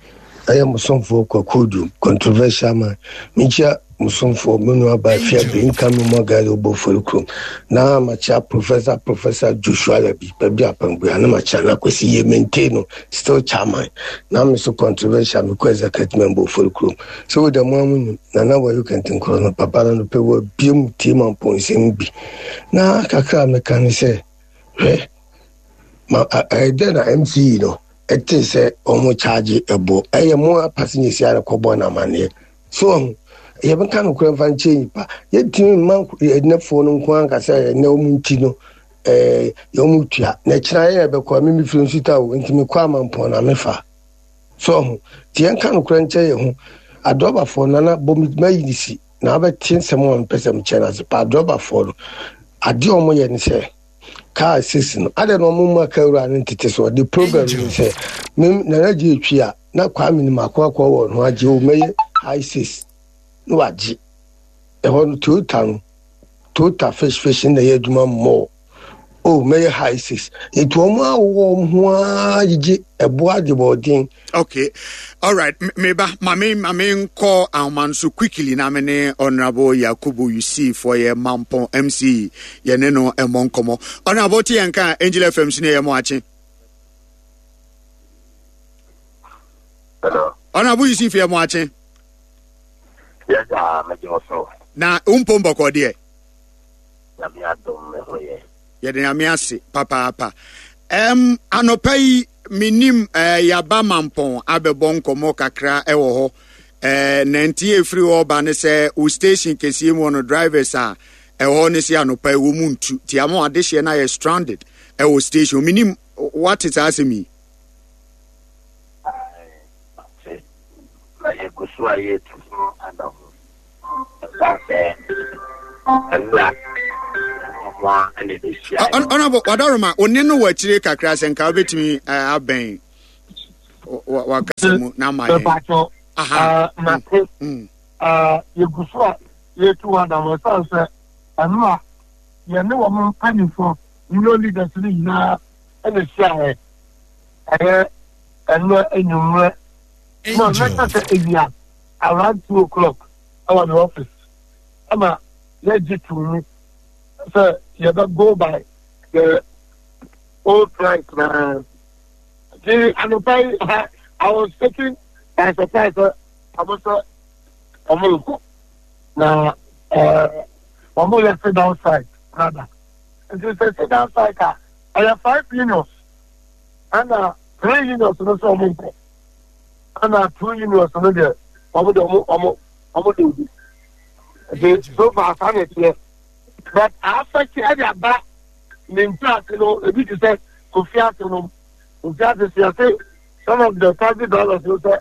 Ɛyɛ mo somfoɔ Kwaku Odum, controversial man. Menkyia mo somfoɔ, me nua baa Fiabe, nka me mu agale wobɔ fori kurom. Na makyia Professor Professor Joshua Labi, baabi apangbua, na makyia na Kwesi yie maintain no, still chairman. Na me so controversial, mekɔ executive member ofori kurom. Sɛ wo da mu amu nim, Nana Wayo Kɛntenkorɔ no, papa no no pɛ wɔ bie mu tie ma mpɔnsɛm bi. Na kakra a meka ne sɛ, hwɛ, ma ɛyɛ dɛ na MCE no ɛte sɛ wɔn charge ɛbo ɛyɛ mo a passengers yɛ kɔbɔ no amaneɛ so ɔho yɛbɛka nokorɛ mfa nkyerɛ nipa yɛntumi mma ɛnɛfoɔ no nko anka sɛ ɛnɛ wɔn nti no ɛɛ wɔn tua na ɛkyerɛ yɛ yɛbɛkɔ me mefiri nsuta o nti mekɔ amampɔn na mefa so ɔho nti yɛnka nokorɛ nkyerɛ yɛn ho adɔbafoɔ nana bɔ mayi ne si. Na wobɛte nsɛm a mepɛ sɛ mekyɛ no ase paa. Drɔbafoɔ no, adeɛ a wɔyɛ ne sɛ, kaa sisi no, adɛn na wɔn mma kaa wura no ntete so? The problem ne sɛ, me Nana gye etwi a, na Kwame nim ako akɔ wɔ ho agye o, mɛyɛ high six na wagye. Ɛhɔ no Toyota no, Toyota fish fish na ɛyɛ adwuma mmɔɔ. Oh, mɛyɛ high six. Nti wɔn a wɔwɔ wɔn ho ara gyegye ɛbo adebɔden. Okay, all right. Meba, mame mame nkɔ ahoma no so quickly na me ne Honorable Yakubu Yusuf ɔyɛ Mampɔn MC yɛne no ɛmmɔ nkɔmmɔ. Honorable te yɛn ka Angel FM so ne yɛ mo akye. Hello. Honorable Yusuf yɛ mo akye. Yes, ah, megye wo so. Na wo mpom bɔkɔ deɛ? Nyame adom me ho yɛ. Yɛde Nyame ase papaapa. Um, anɔpa yi menim uh, yaba mampɔn abɛbɔ nkɔmmɔ kakra ɛwɔ hɔ. Uh, na nti efiri hɔ ba ne sɛ wo station kɛseɛ mu no drivers a ɛhɔ ne sɛ anɔpa yi wɔ mu ntu ti ama adehyeɛ no ayɛ stranded ɛwɔ station. Menim wate saa asɛm yi. Na yɛgu so a yɛtu ho anammɔn. Ɛsiane sɛ ɛnna wɔn a ɛna ɛbɛhyia. Ɔnabɔ wadaroma one no wɔ akyire kakra sɛ nka wobɛtumi abɛn wakasa mu na ama yɛn. Aha. Mate. Yɛgu so a yɛtu ho anammɔn ɛsiane sɛ ɛno a yɛne wɔn mpanimfoɔ union leaders no nyinaa ɛna ɛhyiaeɛ ɛyɛ ɛnɛ anwummerɛ No, mɛka sɛ awia around 2 o'clock ɛwɔ ne office ɛma yɛgye too mu sɛ yɛbɛ go by the old price na nti anɔpa yi ha I was taken by surprise sɛ ɔmo sɛ ɔmo rekɔ na ɛɛ ɔmo yɛ sit down strike rather nti sɛ sit down strike a ɛyɛ five unions ɛna three unions no sɛ ɔmo nkɔ. Ɛna two unions no deɛ wɔn deɛ wɔn wɔn wɔn de obi nti so far saa na ɛteɛ but afɛte ɛde aba ne ntaase no ebi te sɛ kofi ase no kofi ase si ase some of the taxi drivers no sɛ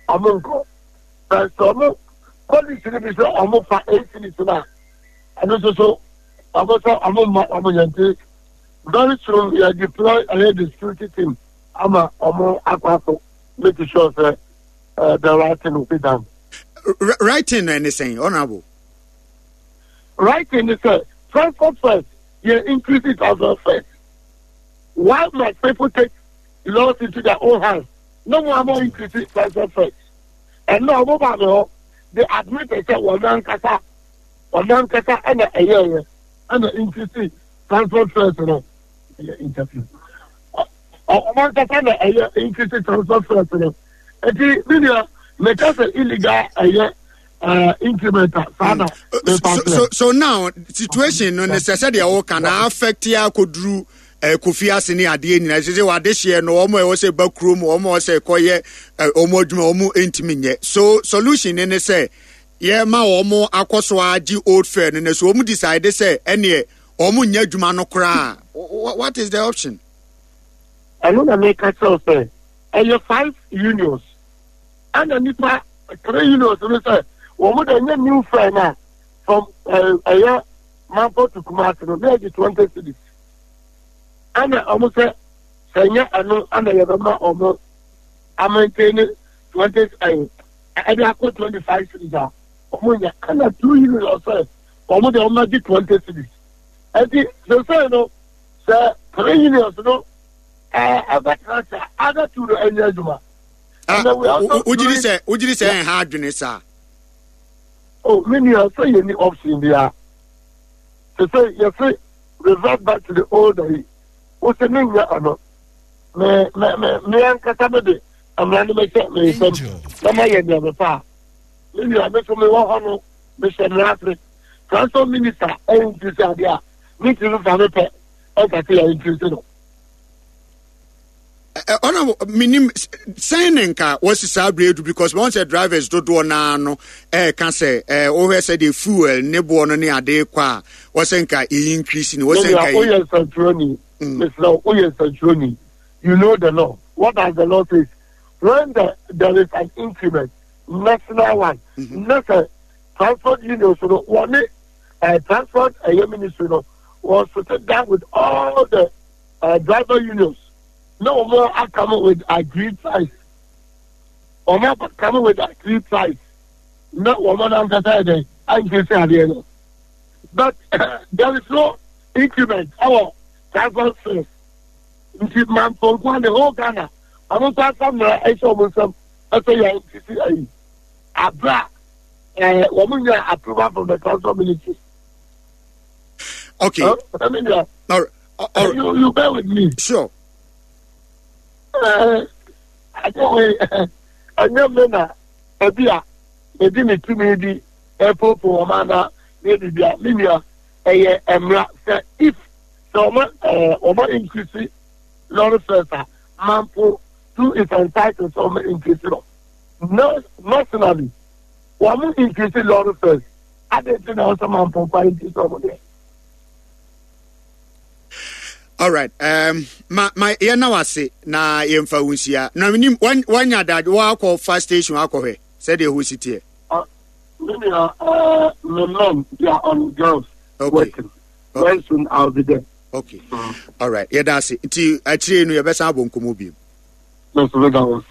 wɔn nkɔ but sɛ wɔn police no bi sɛ wɔn fa eight cities no a ɛno nso so wɔn sɛ wɔn mma wɔn yɛn ti very soon yɛ deploy ɛyɛ the security team. ama ɔmo akɔ akɔ make sure sɛ uh, the right thing will be done. Right thing no ɛne sɛn honourable? Right thing is sɛ transport fares yɛ increase transport fares. Why must people take laws into their own hands? No more ama increase transport fares. Ɛnna ɔmo ba mi hɔ they admit sɛ wɔn ankasa wɔn ankasa ɛna ɛyɛɛyɛ ɛna increase transport fares no. Ɛyɛ interview. Ɔmo ankasa na ɛyɛ increase transfer fares no. Eti mi nua meka sɛ illegal ɛyɛ uh, increment a saa na mepa so, so, so now situation no ne sɛ sɛdeɛ woka na affect yɛ akɔduru eh, kofi ase ne adeɛ nyinaa sɛ sɛ wadehyeɛ no wɔn a ɛwɔ sɛ ba kurom wɔn a ɛwɔ sɛ kɔyɛ eh, wɔn adwuma wɔn ntumi nyɛ so solution ne ne sɛ yɛma wɔn akɔ so agye old fare no na so wɔn decide sɛ ɛneɛ wɔn nyɛ adwuma no koraa what is the option. Ɛno na meka kyerɛ wo sɛ ɛyɛ five unions ɛna nipa three unions no sɛ wɔn de ɛnyɛ new fare na from ɛyɛ Mampo to Kumasi no na ɛgye 20 cedis ɛna wɔn sɛ sɛ ɛnyɛ ɛno ɛna yɛbɛma wɔn amaintain 20 ɛyɛ ɛde akɔ 25 cedis a wɔn nyɛ ɛna two unions sɛ wɔn de wɔn agye 20 cedis ɛti sɛsɛn no. Sɛ three unions no ɛbɛtena sɛ other two no ɛnyɛ adwuma. Ah, wogyiri sɛ wogyiri sɛ ɛnha adwene saa. Oh, me nua sɛ yɛ ni option bia. Sɛ sɛ yɛse revert back to the old ayi. Wo sɛ me nya ɛno. Me me me me ankasa me de mmara no bɛhyɛ me nsam na ma yɛ nea mepɛ a. Me nua me so me wɔ hɔ no mehyɛ mmara ase. Transport minister ɛnti sɛ adeɛ a ne ti no fa me pɛ ɛka sɛ yɛ nti no. Ɔna menim sɛn ne nka wɔsi saa bere edu because wɔn sɛ drivers dodoɔ naa no ɛɛka sɛ ɛɛ wohwɛ sɛ de fuel ne boɔ no ne ade kɔ a wɔsɛ nka eyi increase ni wɔsɛ nka yi. Woyɛ nsɛntwerɛni mesrɛ woyɛ nsɛntwerɛni you know the law what does the law say when there is an increment national one ne sɛ. transport unions no wɔne transport ɛyɛ ministry no wɔn sit down with all the driver unions na wɔn aka with agreed price wɔn aka with agreed price na wɔn ankasa yɛ dɛ increase adeɛ no but there is no increment ɛwɔ transport fares nti mamponkoa the whole Ghana wɔn nso asa mmerɛ ɛhyɛ wɔn nsam ɛsɛ yɛ increase ayi abira ɛɛ wɔn nya approval from the transport ministry. Okay. I mean, yeah. All right. All right. You bear with me. Sure. I don't ɛnyɛ me na ebi a medi me tumi di ɛpopo wɔn ana ne bibi a me nua ɛyɛ mmra sɛ if sɛ wɔn ɛɛ wɔn increase lorry fares a mampo too is entitled sɛ wɔn increase no no nationally wɔn increase lorry fares adi nti na ɔsɛ mampo kwan increase wɔn deɛ. All right. Ma ma yɛn na wase na yɛn fa wo nhyia. Na nim wanya da wakɔ fa station akɔhwɛ sɛdeɛ ɛhɔ si teɛ. Me nua, me men they are on girls okay. working. Okay. Very soon I'll be there. Okay. All right. Yɛda ase. Nti akyire no yɛbɛsan abɔ nkɔmmɔ bio. Mɛsɛ bɛda wo ase.